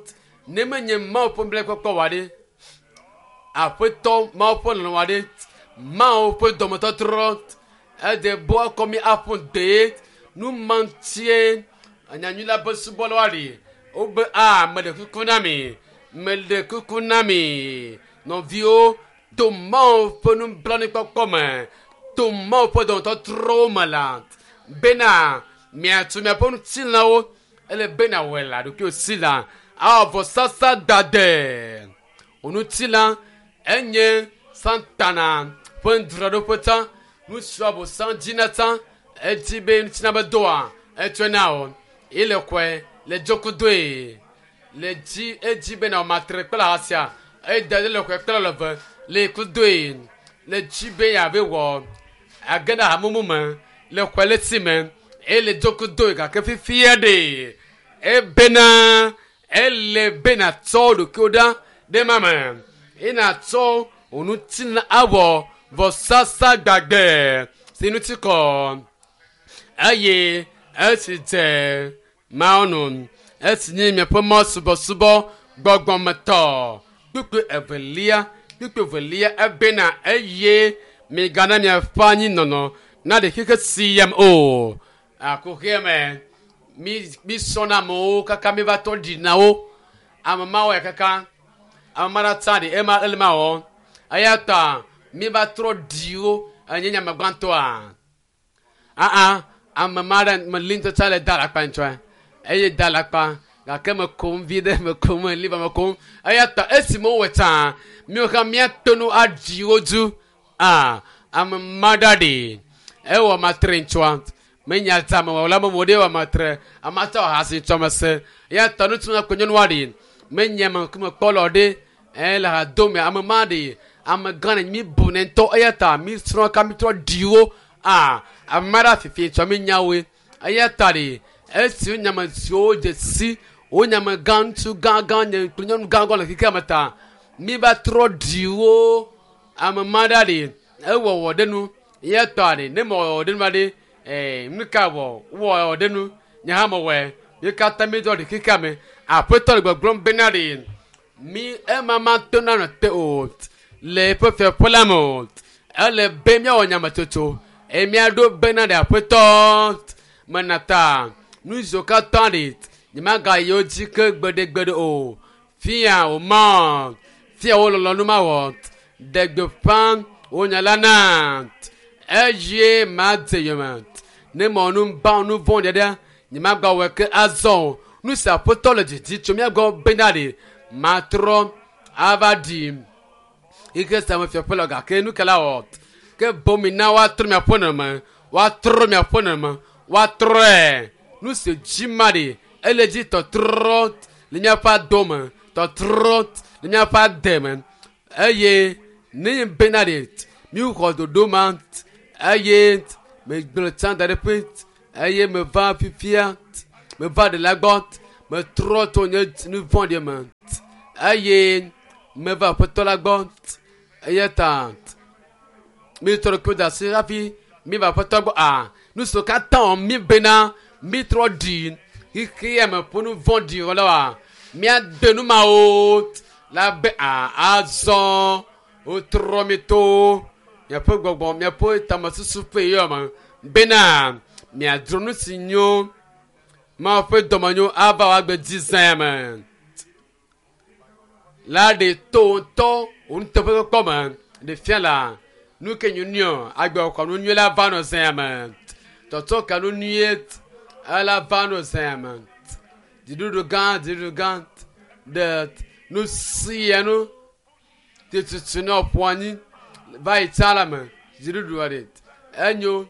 ne menye Mawu ƒe nublanukpɔkpɔ wa ɖe aƒetɔ Mawu ƒe lɔlɔ̃ wa ɖe Mawu ƒe dɔmetɔtrɔ ede bo akɔ mi aƒo dee nu ma ŋutie nyanyui la be subɔlawo ɖi wobe a meɖe kuku na mi meɖe kuku na mi nɔviwo to Mawu ƒe nublanuikpɔkpɔ me to Mawu ƒe dɔmetɔtrɔwo me la bena miatu miaƒe ŋutilãwo ele bena wɔe la ɖokuiwò si la awɔ vɔsasa dade wò ŋutilã enye Satana ƒe nudzraɖoƒe tsã nu siwo abosam dzina tsã edzi be ŋutilã be doa etsɔe na wò ye le kɔe le dzokudoe le dzi edzi bena wò matre kple ahasia eda ɖe le kɔe kple leve le kudoe le dzi be yeave wɔ age ɖe hamumu me le kɔe le si me eye le dzokudoe gake fifia ɖe ebena ele bena tsɔ ɖokuiwò ɖa ɖe ma me eye natsɔ wò ŋutilã awɔ vɔsasa gbagbe si ŋuti kɔ eye esi dze Mawu nu esi nye miaƒe mɔ subɔsubɔ gbɔgbɔmetɔ kpukpui evelia kpukpui evelia ebena eye migana miaƒe anyinɔnɔ naɖe xexe sia me o akuxia me mi mi sɔna amewo kaka mi va tɔ ɖina wo ame mawo ya kaka ame ma ɖe tsa ɖi ema ele ma wɔ eya ta mi va trɔ ɖi wo enye nyame gbãtɔa aa ame ma ɖe meli ŋutɔ tsa le da alakpa ŋutsɔe eye da alakpa gake me kom vi ɖe me kom meli va me kom eya ta esi me wowɔ tsã miwo hã míato nu aɖi wo dzu aa ame ma ɖa ɖi ewɔ matre ŋutsua menya dzame wɔ la me mo ɖe wɔ matre ame atɔ hasi ŋutsɔ me se eya ta ŋutsu na kpe nyɔnua ɖi menye ame ŋkume kpɔ lɔ ɖe ɛ le ha dome ame ma ɖi ame gã ne mi bu ne ŋutɔ eya ta mi srɔ̃ ka mi trɔ ɖi wo aa ame ma ɖe fifi ŋutsɔ mi nya woe eya ta ɖi esi wo nyame siwo dze si wo nyame gã ŋutsu gã gã nye kple nyɔnu gã gã le xexea me ta mi va trɔ ɖi wo ame ma ɖa ɖi ewɔwɔ ɖe nu eya ta ɖi ne mewɔ ɖe nu va ɖe ɛɛ nu ka wɔ wɔ ɖe nu nye hã mewɔe mi katã mi dɔ ɖi xexea me aƒetɔ le gbɔgblɔm bena ɖi mi ema ma to na nɔ te o le eƒe fiaƒe la me o ele be míawɔ nyametsotso eye míaɖo bena ɖe aƒetɔ mena ta nu siwo katã ɖi nyemagayi wo dzi ke gbeɖegbeɖe o fia wò mɔ fia wò lɔlɔ̃nu mawɔ ɖe gbeƒã wò nya la na eye madze yome ne mewɔ nu ba nu vɔ̃ ɖe nyemagawɔe ke azɔ o nu si aƒetɔ le didi tso mía gbɔ bena ɖi matrɔ ava ɖi ike sia me fiaƒe le gake nu ke la wɔ ke bomi na woatrɔ miaƒe nɔnɔme woatrɔ miaƒe nɔnɔme woatrɔe nu si dzi ma ɖi ele dzi tɔtrɔ le míaƒe ado me tɔtrɔ le míaƒe ade me eye ne nye bena ɖi mi xɔ ɖoɖo ma eye megblɔ tsã da ɖe ƒe Eye meva fifia meva ɖela gbɔ metrɔ tso nye nu vɔ̃ɖi me eye meva aƒetɔ la gbɔ eya ta mitrɔ ɖokuiwo da asi hafi miva aƒetɔ gbɔ a nu siwo katã wɔm mi bena mitrɔ ɖi xexea me ƒe nu vɔ̃ɖi wɔlawoa míade nu mawo la be a azɔ wotrɔ mi to miaƒe gbɔgbɔ miaƒe tamesusu ƒe yɔ me bena miadzro nu si nyo Mawu ƒe dɔmenyo ava wòagbe dzi zã me la ɖe to ŋutɔ wò nuteƒekpɔkpɔ me ɖe fia la nu ke nyunyɔ agbe xɔ nu nyui la va nɔ zã me tɔtɔ ka nu nyuie ela va nɔ zã me dziɖuɖu gã dziɖuɖu gã ɖe nu sia nu titutu ne ƒo anyi va yi tsã la me dziɖuɖu ɖe enyo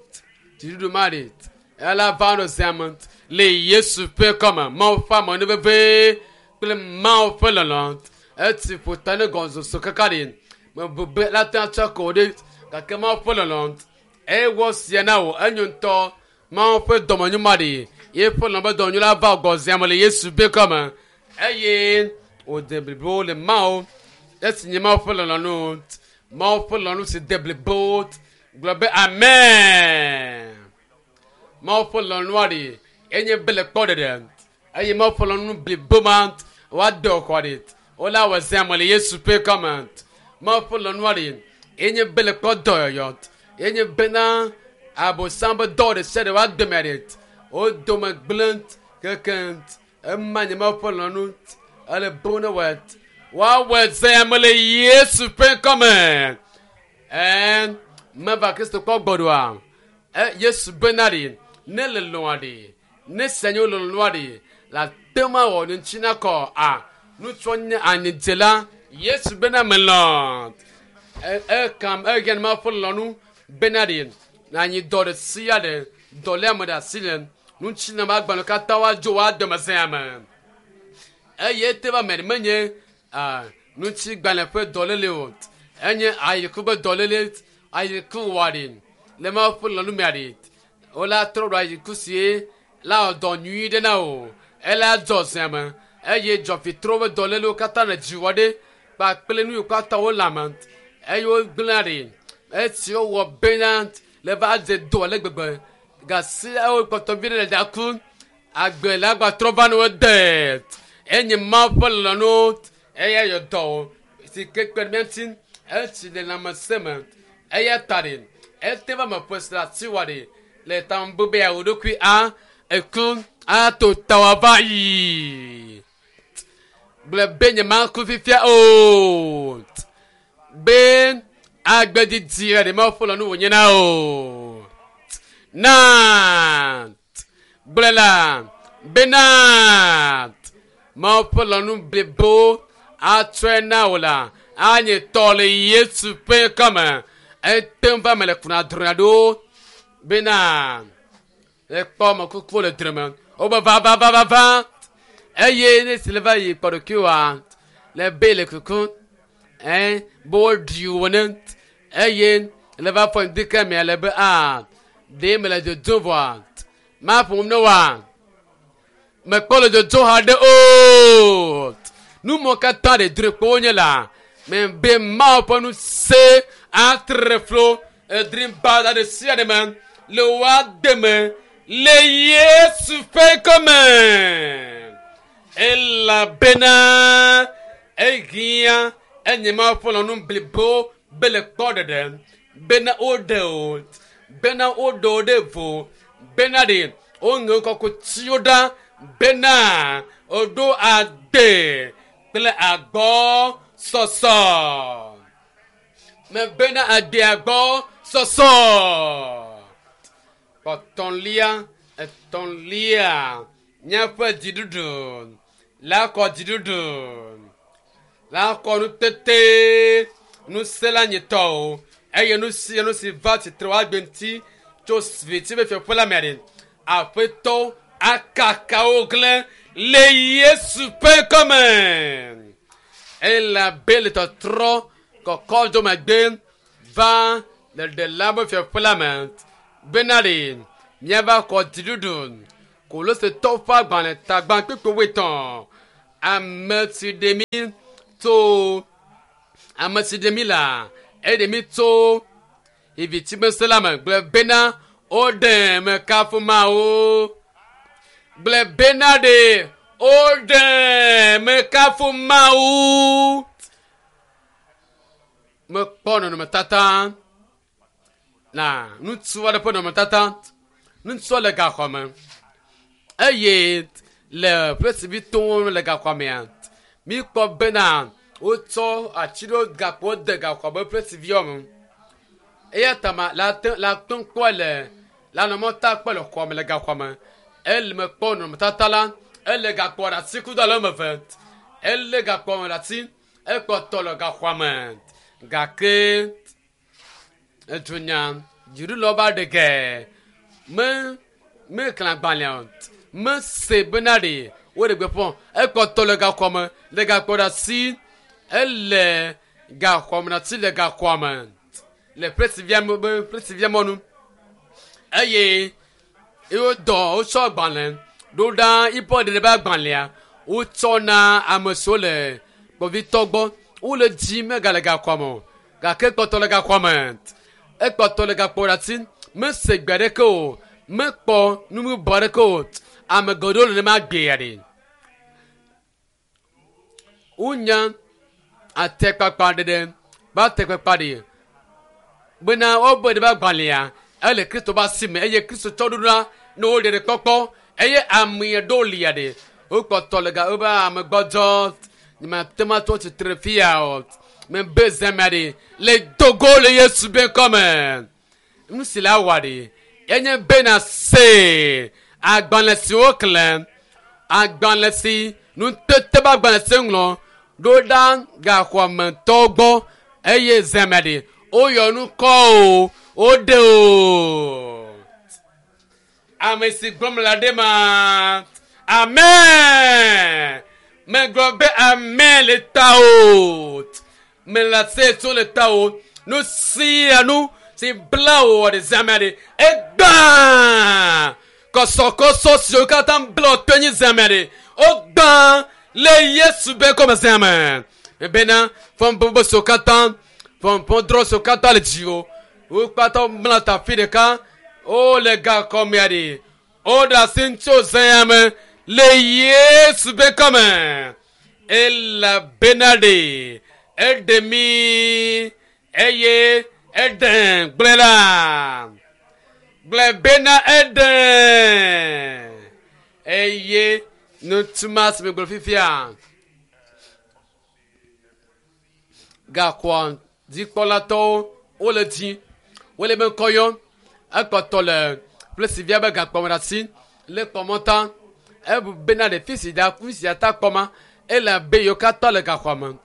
dziɖuɖu ma ɖe ela va nɔ zã me le Yesu ƒe kɔme Mawu ƒe amenuveve kple Mawu ƒe lɔlɔ eti ƒo ta ne gɔnzoso kaka ɖe mebu be la te atsɔ ko ɖe gake Mawu ƒe lɔlɔ ewɔ sia na wò enyo ŋutɔ Mawu ƒe dɔmenyo ma ɖe yeƒe lɔlɔ be dɔmenyo la va gɔzea me le Yesu ƒe kɔme eye wòde blibo le Mawu esi nye Mawu ƒe lɔlɔnu Mawu ƒe lɔlɔnu si de blibo gblɔ be amen Mawu ƒe lɔlɔnua ɖe enye be le kpɔ ɖeɖe eye Mawu ƒe lɔlɔnu blibo ma woade xɔ ɖe wola wɔ zã me le Yesu ƒe kɔme Mawu ƒe lɔlɔnua ɖe enye be le kpɔ dɔyɔyɔ enye bena abosam be dɔ ɖe sia ɖe woade me ɖe wo dome gblẽ keke ema nye Mawu ƒe lɔlɔnu ele bo ne wɔ woawɔ zã me le Yesu ƒe kɔme ɛn meva Kristo kpɔ gbɔɖoa ɛ Yesu bena ɖe ne le lɔa ɖe ne se nye lɔlɔnua ɖe la te ma wɔ ne ŋuti na kɔ a nutsɔ nye anyidzela Yesu bena melɔ ekam ehiã Mawu ƒe lɔlɔnu bena ɖe anyi dɔ ɖe sia ɖe dɔléame ɖe asi le ŋuti na agbalẽ katã woadzo woade me zã me eye te va me menye ŋutigbalẽ ƒe dɔléle o enye ayiku ƒe dɔléle ayiku wɔ ɖe le Mawu ƒe lɔlɔnu mea ɖe wola trɔ ɖo ayiku sie la wɔ dɔ nyui ɖe na o ela dzɔ zã me eye dzɔfitro ƒe dɔlélewo katã le dziwɔ ɖe kpakple nu yiwo katã wole ame eye wogblẽa ɖe esi wowɔ bena le va dze dɔ ale gbegbe gasi ewo kpɔtɔ vi ɖe le daku agbe le agbatrɔ va ne wo de enye Mawu ƒe lɔlɔnu eya yɔ dɔ si ke kpe ɖe mía ŋuti etsi le lãmesẽ me eya ta ɖe ete va me ƒe si le asi wɔ ɖe le tamebu be yeawɔ ɖokui a eku ato tawa va yi gblɔ be nye maku fifia o be agbedidi ɖe Mawu ƒe lɔlɔnu wònye na o na gblɔ la bena Mawu ƒe lɔlɔnu blibo atsɔe na wò la anye tɔ le Yesu ƒe kɔme ete ŋu va me le kuna drɔ̃a ɖo bena ekpɔ ame kukuwo le drɔ̃me wobe va va va va va eye ne si le va yi kpɔ ɖokuiwoa le be le kuku ɛn be woɖi wo ne eye le va fɔ ŋdi ke mea le be a ɖe mele dzodzo vɔa maƒom ne wa mekpɔ le dzodzo haɖe o nu mɔ katã ɖe drɔ̃e kpɔ wonye la me be Mawu ƒe nu se atre flo edri ba ɖe sia ɖe me le woade me le Yesu ƒe kɔme elabena ehiã enye Mawu ƒe lɔlɔnu blibo be le kpɔ ɖeɖe bena woɖe o bena woɖe wo ɖe vo bena ɖe woŋe kɔkutiwo ɖa bena woɖo ade kple agbɔ sɔsɔ me bena ade agbɔ sɔsɔ etɔ̃lia etɔ̃lia míaƒe dziɖuɖu la kɔ dziɖuɖu la kɔ nutete ŋusẽ la nyitɔ o eye nu sia nu si va tsitre woagbe ŋuti tso viti be fiaƒe la mea ɖe aƒetɔ akaka wo hlẽ le Yesu ƒe kɔme elabe le tɔtrɔ kɔkɔ do megbe va le ɖela be fiaƒe la me bena ɖe Míava xɔ dziɖuɖu. Kolosetɔwo ƒe agbalẽ tagba kpukpui wuietɔ̃. Ame si ɖe mí tso ame si ɖe mí la eɖe mí tso vivitsimese la me gblɔ bena woɖe mekafu Mawu. Gblɔ bena ɖe woɖe mekafu Mawu. Mekpɔ nɔnɔmetata na ŋutsu aɖe ƒe nɔnɔmetata. Ŋutsua le gaxɔme eye le ƒe le gaxɔmea míkpɔ bena wotsɔ ati ɖewo gakpowo de gaxɔme ƒe me. Eya ta ma la te la te kpɔ le la nɔnɔmetata kpɔ le xɔme le gaxɔme. Ele mekpɔ nɔnɔmetata la ele gakpoa ɖe asi kudo ale woame eve. Ele gakpoa me ɖe asi ekpɔtɔ le gaxɔme gake edunya dziɖulawo va ɖe ge me meklã agbalẽa o mese bena ɖe woɖe gbeƒã ekpɔtɔ le gaxɔme le gakpo ɖe asi ele gaxɔme ɖe asi le gaxɔme le presivia be presivia mɔnu eye wodɔ wotsɔ agbalẽ ɖo ɖa yibɔ ɖeɖe be agbalẽa wotsɔ na ame siwo le kpovitɔ gbɔ wole dzi megale gaxɔme o gake ekpɔtɔ le gaxɔme ekpɔtɔ le gakpo ɖe asi mese gbe aɖeke o mekpɔ numebɔ aɖeke o ame geɖewo le nenema gbea ɖe wonya atekpakpa ɖeɖe be atekpakpa ɖe bena wobe ɖe be agbalẽa ele kristo be asi me eye kristo tsɔ ɖo ɖa ne wo ɖeɖe kpɔkpɔ eye ame ɖewo lia ɖe wokpɔtɔ le ga wobe ame gbɔdzɔ nyemate ŋu atrɔ tsitre fia o mebe zemea ɖe le dogo le yesu be ŋkɔme nu si la wɔ ɖe enye bena se agbalẽ si woxlẽ agbalẽ si nutete be agbalẽ si ŋlɔ ɖo ɖa gaxɔmetɔwo gbɔ eye zemea ɖe woyɔ nu kɔ o woɖe o ame si gblɔm le aɖe ma amen megblɔ be amen le ta o mele ase tso le ta o nu sia nu si bla wò ɖe zemea ɖe egbã kɔsɔkɔsɔ siwo katã bla wò to nyi zemea ɖe wogbã le yesu be kɔme zeme bena fɔnbɔbɔ siwo katã fɔnbɔdrɔ siwo katã le dziwò wo kpata mla ta fi ɖeka wole gakɔmea ɖe woɖe asi ŋutsu zea me le yesu be kɔme elabena ɖe eɖe mí eye eɖe gblẽ la gblẽ bena eɖe eye nutuma si megblɔ fifia gaxɔa dzikpɔlatɔwo wole dzi wole be ŋkɔ yɔm ekpɔtɔ le ƒlesivia be gakpɔme ɖe asi le kpɔmɔta ebu bena ɖe fi si da fi sia ta kpɔma ele abe yiwo katã le gaxɔa me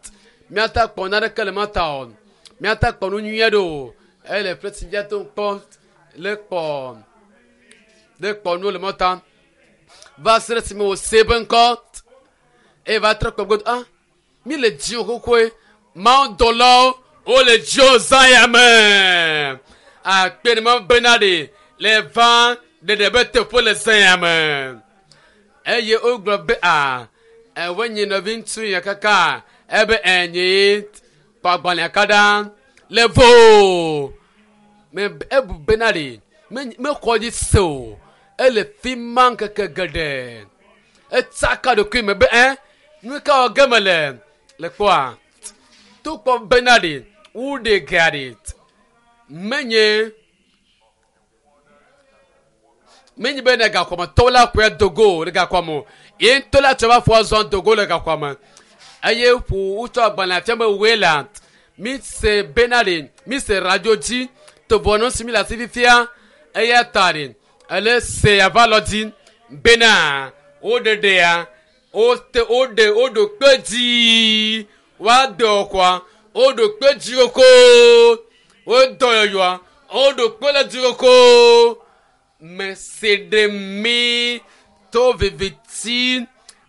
míata kpɔ naneke le mata o míata kpɔ nu nyui aɖe o ele ƒlesivia to kpɔ le kpɔ le kpɔ nuwo le mɔta va se ɖe esime wòse be ŋkɔ eye va trɔ kpɔ godo ah mi le dziwò xoxoe mawudɔlawo wole dziwò zã ya me akpe ne ma bena ɖe le va ɖeɖe be teƒe le zã ya me eye wogblɔ be a ewe nyi nɔvi ŋutsu ya kaka ebe enyi kpɔ agbalẽa ka ɖa le vo me ebu bena ɖe mexɔ dzi se o ele fi ma ŋkeke geɖe etsaka ɖokui me be ɛ nu ka wɔ ge mele le kpɔa to kpɔ bena ɖe woɖe gea ɖe menye menye be ne gaxɔmetɔwo la ƒoe dogo le gaxɔme o ye ŋutɔ la tsɔ va fɔ zɔn dogo le gaxɔme eye ƒo wotsɔ agbalẽ fia be woe la mi se bena ɖe mi se radio dzi tovɔ si mi le asi fifia eya ta ɖe ele se ava lɔ dzi bena woɖeɖea wote woɖe woɖo kpe dzi woade xɔa woɖo kpe dzi koko wodɔ yɔyɔa woɖo kpe le dzi koko mese ɖe mi to viviti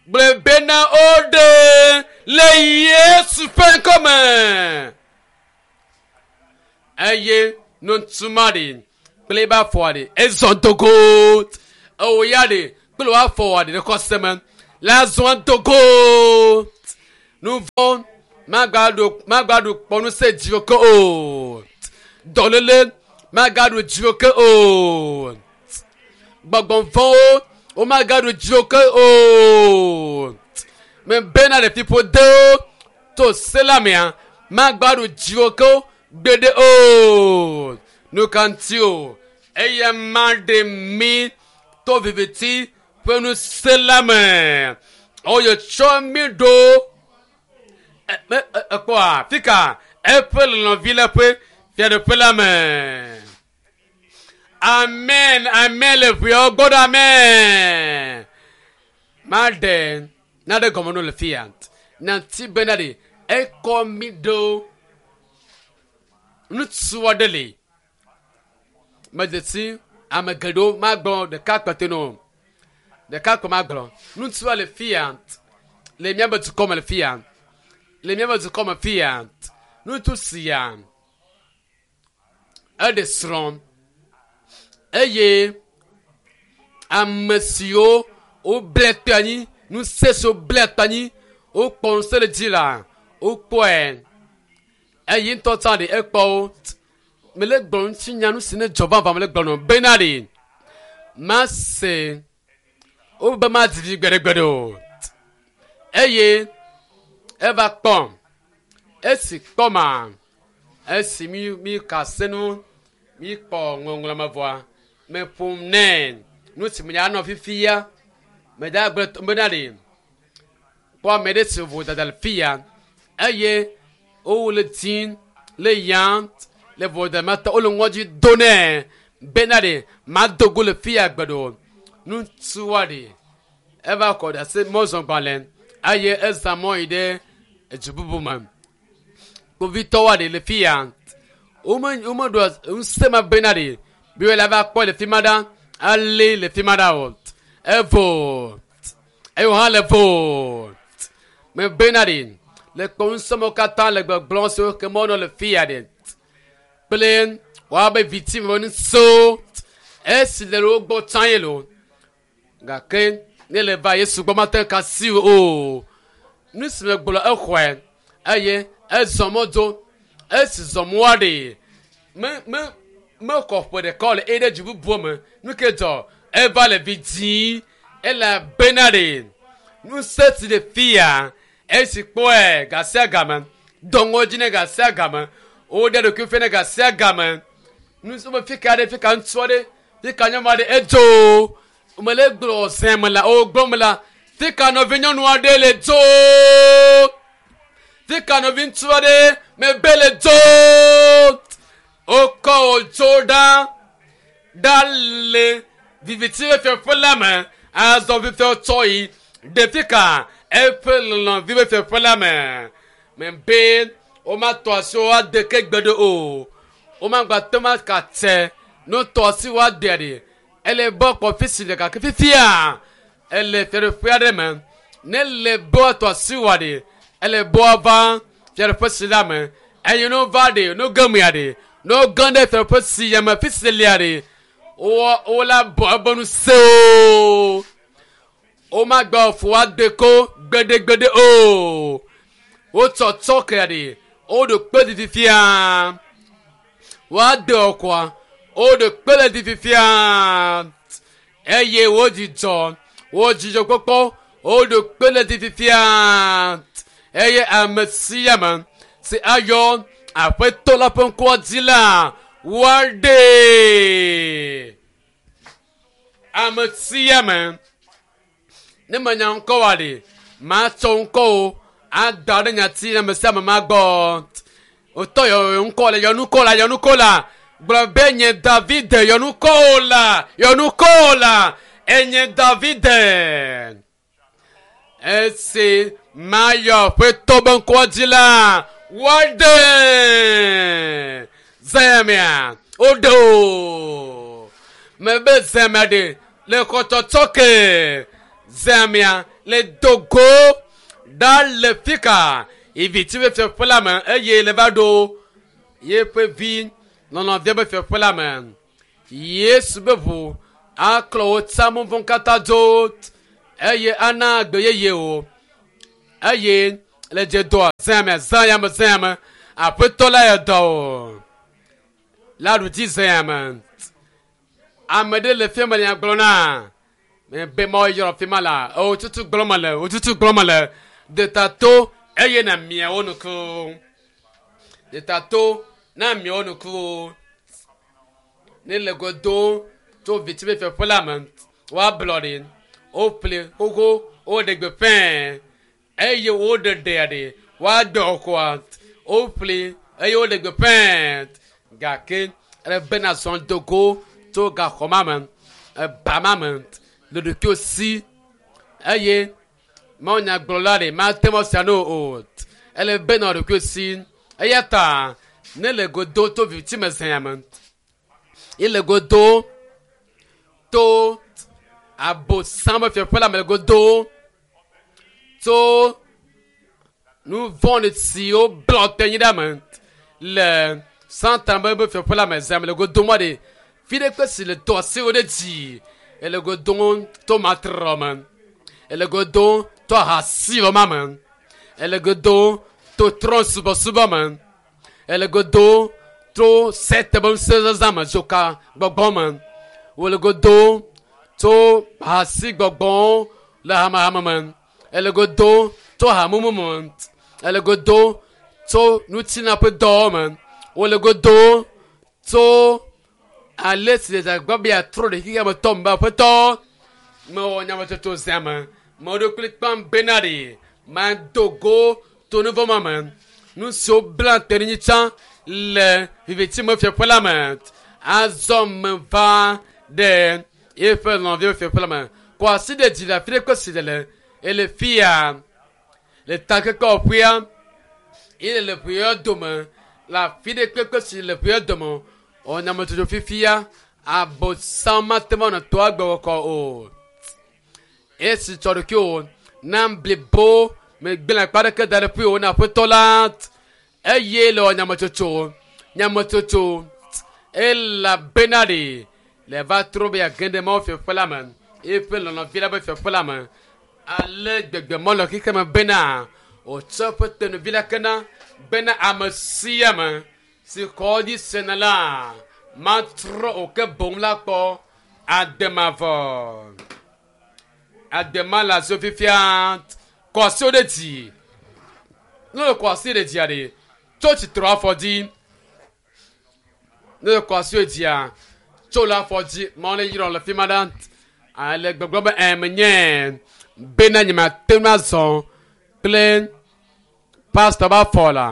gblɔ bena woɖe le yesu ƒe ŋkɔme eye nutuma ɖe Kple ebe afɔa ɖe ezɔ dogo. Ewo ya ɖe kple wò afɔa ɖe ɖe xɔse me la zɔ dogo. Nu vɔ̃ magaɖu magaɖu kpɔ ŋusẽ dziwò ke o. Dɔléle magaɖu dziwò ke o. Gbɔgbɔ vɔ̃wo womagaɖu dziwò ke o. Mebena ɖe fiƒodewo to se la mea magbaɖu dziwò ke o gbeɖe o. Nu ka ŋuti o? Eya ma ɖe mi to viviti ƒe ŋusẽ la me. Eye tsɔ mi ɖo ekpɔa fika eƒe lɔlɔ̃vi la ƒe fiaɖuƒe la me. Amen, amen le ʋeawo gbɔ ɖo amen. Maɖe naɖe gɔme no le fia. Nati bena ɖe ekɔ mi ɖo ŋutsu aɖe li. Medze ame geɖewo magblɔ ɖeka kpete no. Ɖeka kpe magblɔ. Ŋutsua le fia le míaƒe dukɔ me le fia. Le míaƒe dukɔ me fia. Ŋutsu sia eɖe srɔ̃ eye ame siwo woble kpe anyi ŋusẽ siwo ble kpe anyi wokpɔ ŋusẽ le dzi la wokpɔe eye ŋutɔ tsã ɖe ekpɔ wo. Mele gblɔ ŋutinya nu si ne dzɔ vavã mele gblɔ nɔ bena ɖe mase wobe madzi vi gbeɖegbeɖe o. Eye eva kpɔm. Esi kpɔ ma esi mi mi ka se nu mi kpɔ ŋɔŋlɔ me vɔa meƒom nɛ nu si me anɔ fifia meda gblɔ bena ɖe kpɔ ame ɖe si vodada le fia eye wole dzim le yam le vodada ma tɔ wole ŋɔdzi do nɛ bena ɖe mado go le fia gbe ɖo. Ŋutsua ɖe eva kɔ ɖe asi mɔzɔgbalẽ eye ezã mɔ yi ɖe edu bubu me. Kpovitɔwoa ɖe le fia wome womeɖo ŋusẽ ma bena ɖe be wole va kpɔ le fi ma ɖa alé le fi ma ɖa o. Evo eye wò hã le vo. Mebena ɖe le kpɔ ŋusẽ mawo katã le gbɔgblɔm siwo ke mɔnɔ le fia ɖe kple woabe viti me ŋusẽwo esi le wo gbɔ tsã ye lo. Gake ne le va Yesu gbɔ mate ŋu asi o. Nu si megblɔ exɔe eye ezɔ mɔ dzo. Esi zɔ mɔa ɖe me me mekɔ ƒe ɖeka le eye ɖe dzi bubu me. Nu ke dzɔ eva le vi dzim elabena ɖe ŋusẽ si le fia esi kpɔe gasia game dɔ ŋɔdzi ne gasia game woɖe ɖokui fia ne gasia game. Ŋusẽ be fika ɖe fika ŋutsu aɖe fika nyɔnu aɖe edzo. Mele gblɔ zẽ me la o gblɔm la fika nɔvi nyɔnu aɖe le dzo. Fika nɔvi ŋutsu aɖe mebe le dzo. Wokɔ wò dzo ɖa ɖa le viviti ƒe fiaƒe la me. Azɔ fifia tsɔ yi ɖe fika eƒe lɔlɔ̃vi ƒe fiaƒe la me. Mebe womatɔ asi wo ade ke gbeɖe o. Womagba te ma ka tse ne wotɔ asi wo adea ɖe. Ele be kpɔ fi si le gake fifia ele fiaɖuƒe aɖe me. Ne le be woatɔ asi woa ɖe ele be woava fiaɖuƒe si la me. Eye ne wova ɖe ne woge mea ɖe ne woge ɖe fiaɖuƒe si ya me fi si lia ɖe wo wola bɔ ebe ŋusẽwo. Womagba ƒo ade ko gbeɖegbeɖe o. Wotsɔ tsɔkea ɖe woɖo kpe ɖi fifia. Woade ɔkɔa woɖo kpe le ɖi fifia. Eye wodzidzɔ wo dzidzɔkpɔkpɔ woɖo kpe le ɖi fifia. Eye ame sia ame si ayɔ aƒetɔ la ƒe ŋkɔa dzi la woaɖee. Ame sia ame ne menya ŋkɔ wa ɖe matsɔ ŋkɔwo ada ɖe nyati na ame sia ame magbɔ. Wotɔ yɔ ŋkɔ le yɔnukɔ la yɔnukɔ la gblɔ be nye David yɔnukɔ la yɔnukɔ la enye David. Esi mayɔ aƒetɔ be ŋkɔa dzi la woaɖe zemia woɖe o. Mebe zemia ɖe le xɔtsɔtsɔ ke zemia le dogo ɖa le fika iviti ƒe fiaƒe la me eye le va ɖo yeƒe vi lɔlɔ̃via ƒe fiaƒe la me. Yesu be ʋu aklɔ wo tsamuvɔ katã dzo eye ana agbe yeye o eye le dze dɔa zãme zãyame zãyame aƒetɔ la yɔ dɔ o la ɖu dzi zãyame ame ɖe le fia me le nya gblɔ na be ma yɔrɔ fi ma la o tutu gblɔ me le o tutu gblɔ me le detato eye na miawo nuku detato na miawo nuku ne le godo tso viti be fiaƒe la me woablɔ ɖi woƒle xoxo woɖe gbe fɛɛ eye woɖe ɖea ɖe woadɔ xɔa woƒle eye woɖe gbe fɛɛ gake ele bena zɔn dogo tso gaxɔ ma me eba ma me le ɖokuiwo si eye mawunyagblɔla ɖe mate ŋu sia no o ele bena ɖokuiwo si eya ta ne le godo to viviti me zãya me ye le godo to abosam be fiaƒe la me le godo tso nu vɔ̃ɖi siwo blɔ te nyi ɖe me le satan be be fiaƒe la me zã me le godo mɔ ɖe fi ɖe kpe si le tɔ asiwo ɖe dzi ele godo to matrɔ me ele godo to ahasiwɔ ma me ele godo to trɔ subɔsubɔ me ele godo to sete be ŋusẽ me dzoka gbɔgbɔ me wòle godo tso hasi gbɔgbɔwo le hamehame me ele godo tso hamumu me ele godo tso ŋutilã ƒe dɔwo me wòle godo tso ale si le dzagba be yeatrɔ ɖe xexea me tɔ me be aƒetɔ mewɔ nyametsotso zã me me ɖokui kpam bena ɖe mado go to nu vɔ̃ ma me nu siwo bla te ɖe nyi tsã le viviti me fiaƒe la me azɔ me va ɖe eƒe lɔ̃vi fiaƒe la me kɔ asi ɖe dzi le afi ɖe kpe si le le ele fia le takekɔƒea ye le ʋeya dome le afi ɖe kpekpe si le ʋeya dome wɔ nyametsotso fifia abosam mate ŋu anɔ toa gbe wɔkɔ o esi tsɔ ɖokuiwò na blibo megblẽ akpa ɖeke da ɖe ƒuiwò na aƒetɔ la eye le wɔ nyametsotso nyametsotso elabena ɖe le va trɔ be yeage ɖe Mawu fiaƒe la me eƒe lɔlɔ̃vi la be fiaƒe la me ale gbegbe mɔlɔ xexe me bena wòtsɔ eƒe tenuvi la kena bena ame sia ame si xɔ dzi sena la matrɔ o ke boŋ la kpɔ ademavɔ adema le azo fifia kɔ asiwo ɖe dzi ne le kɔ asi ɖe dzia ɖe tso tsitre afɔ dzi ne le kɔ asiwo dzia tso le afɔ dzi mawo ne yrɔ le fi ma ɖa ale gbɔgblɔ be ɛ menye bena nye mate ŋu azɔ kple pastor ba fɔ la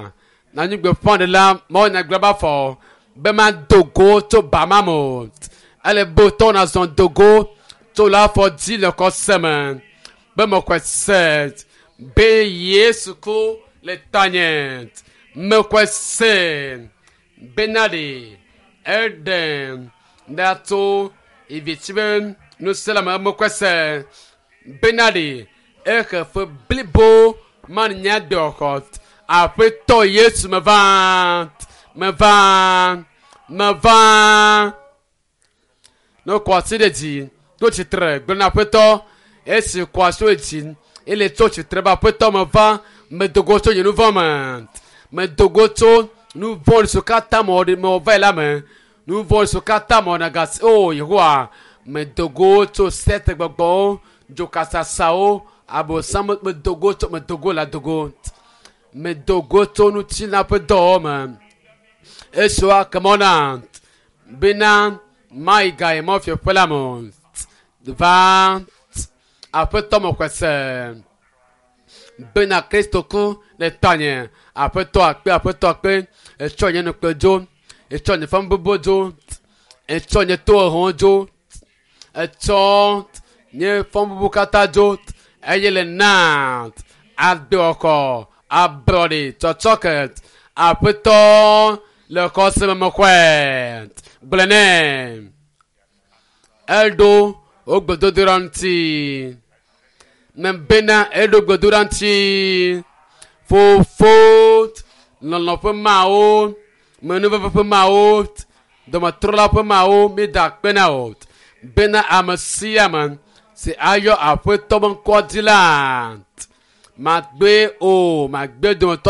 nanyigbe fɔn ɖe la mawo nyagblɔ ba fɔ be ma do go tso ba ma me o ele be wotɔ na zɔn do go tso le afɔ dzi le kɔse me be mexɔe se be Yesu ku le tanye mexɔe se bena ɖe eɖe ɖa tso ivitsi be ŋusẽ la me mexɔe se bena ɖe exe fe blibo ma nye dɔxɔ aƒetɔ Yesu meva meva meva ne kɔ asi ɖe dzi to tsitre gblɔ na aƒetɔ esi kɔ asi ɖe dzi ele tso tsitre be aƒetɔ meva medogo tso nye nu vɔ̃ me medogo tso nu vɔ̃ siwo katã mewɔ ɖe mewɔ va yi la me nu vɔ̃ siwo katã mewɔ na gasi o Yehowa medogo tso sete gbɔgbɔwo dzokasasawo abosam medogo tso medogo la dogo medogo tso ŋutilã ƒe dɔwɔ me esiwo akemɔ na bena mayi ga yi Mawu fiaƒe la me o va aƒetɔ mexɔe se bena Kristo ku le tanye aƒetɔ akpe aƒetɔ akpe etsɔ nye nukpe dzo etsɔ nye fɔbubu dzo etsɔ nye toheho dzo etsɔ nye fɔbubu katã dzo eye le na agbewɔkɔ ablɔɖe tsɔtsɔke aƒetɔ le xɔse me mexɔe gblɔ nɛ eɖo wo gbedodoɖa ŋuti mebena eɖo gbedodoɖa ŋuti fofo lɔlɔ ƒe mawo menuveve ƒe mawo Dɔmetrɔla ƒe mawo mi da akpe na o bena ame sia ame si ayɔ aƒetɔ be ŋkɔ dzi la magbe o magbe dometɔ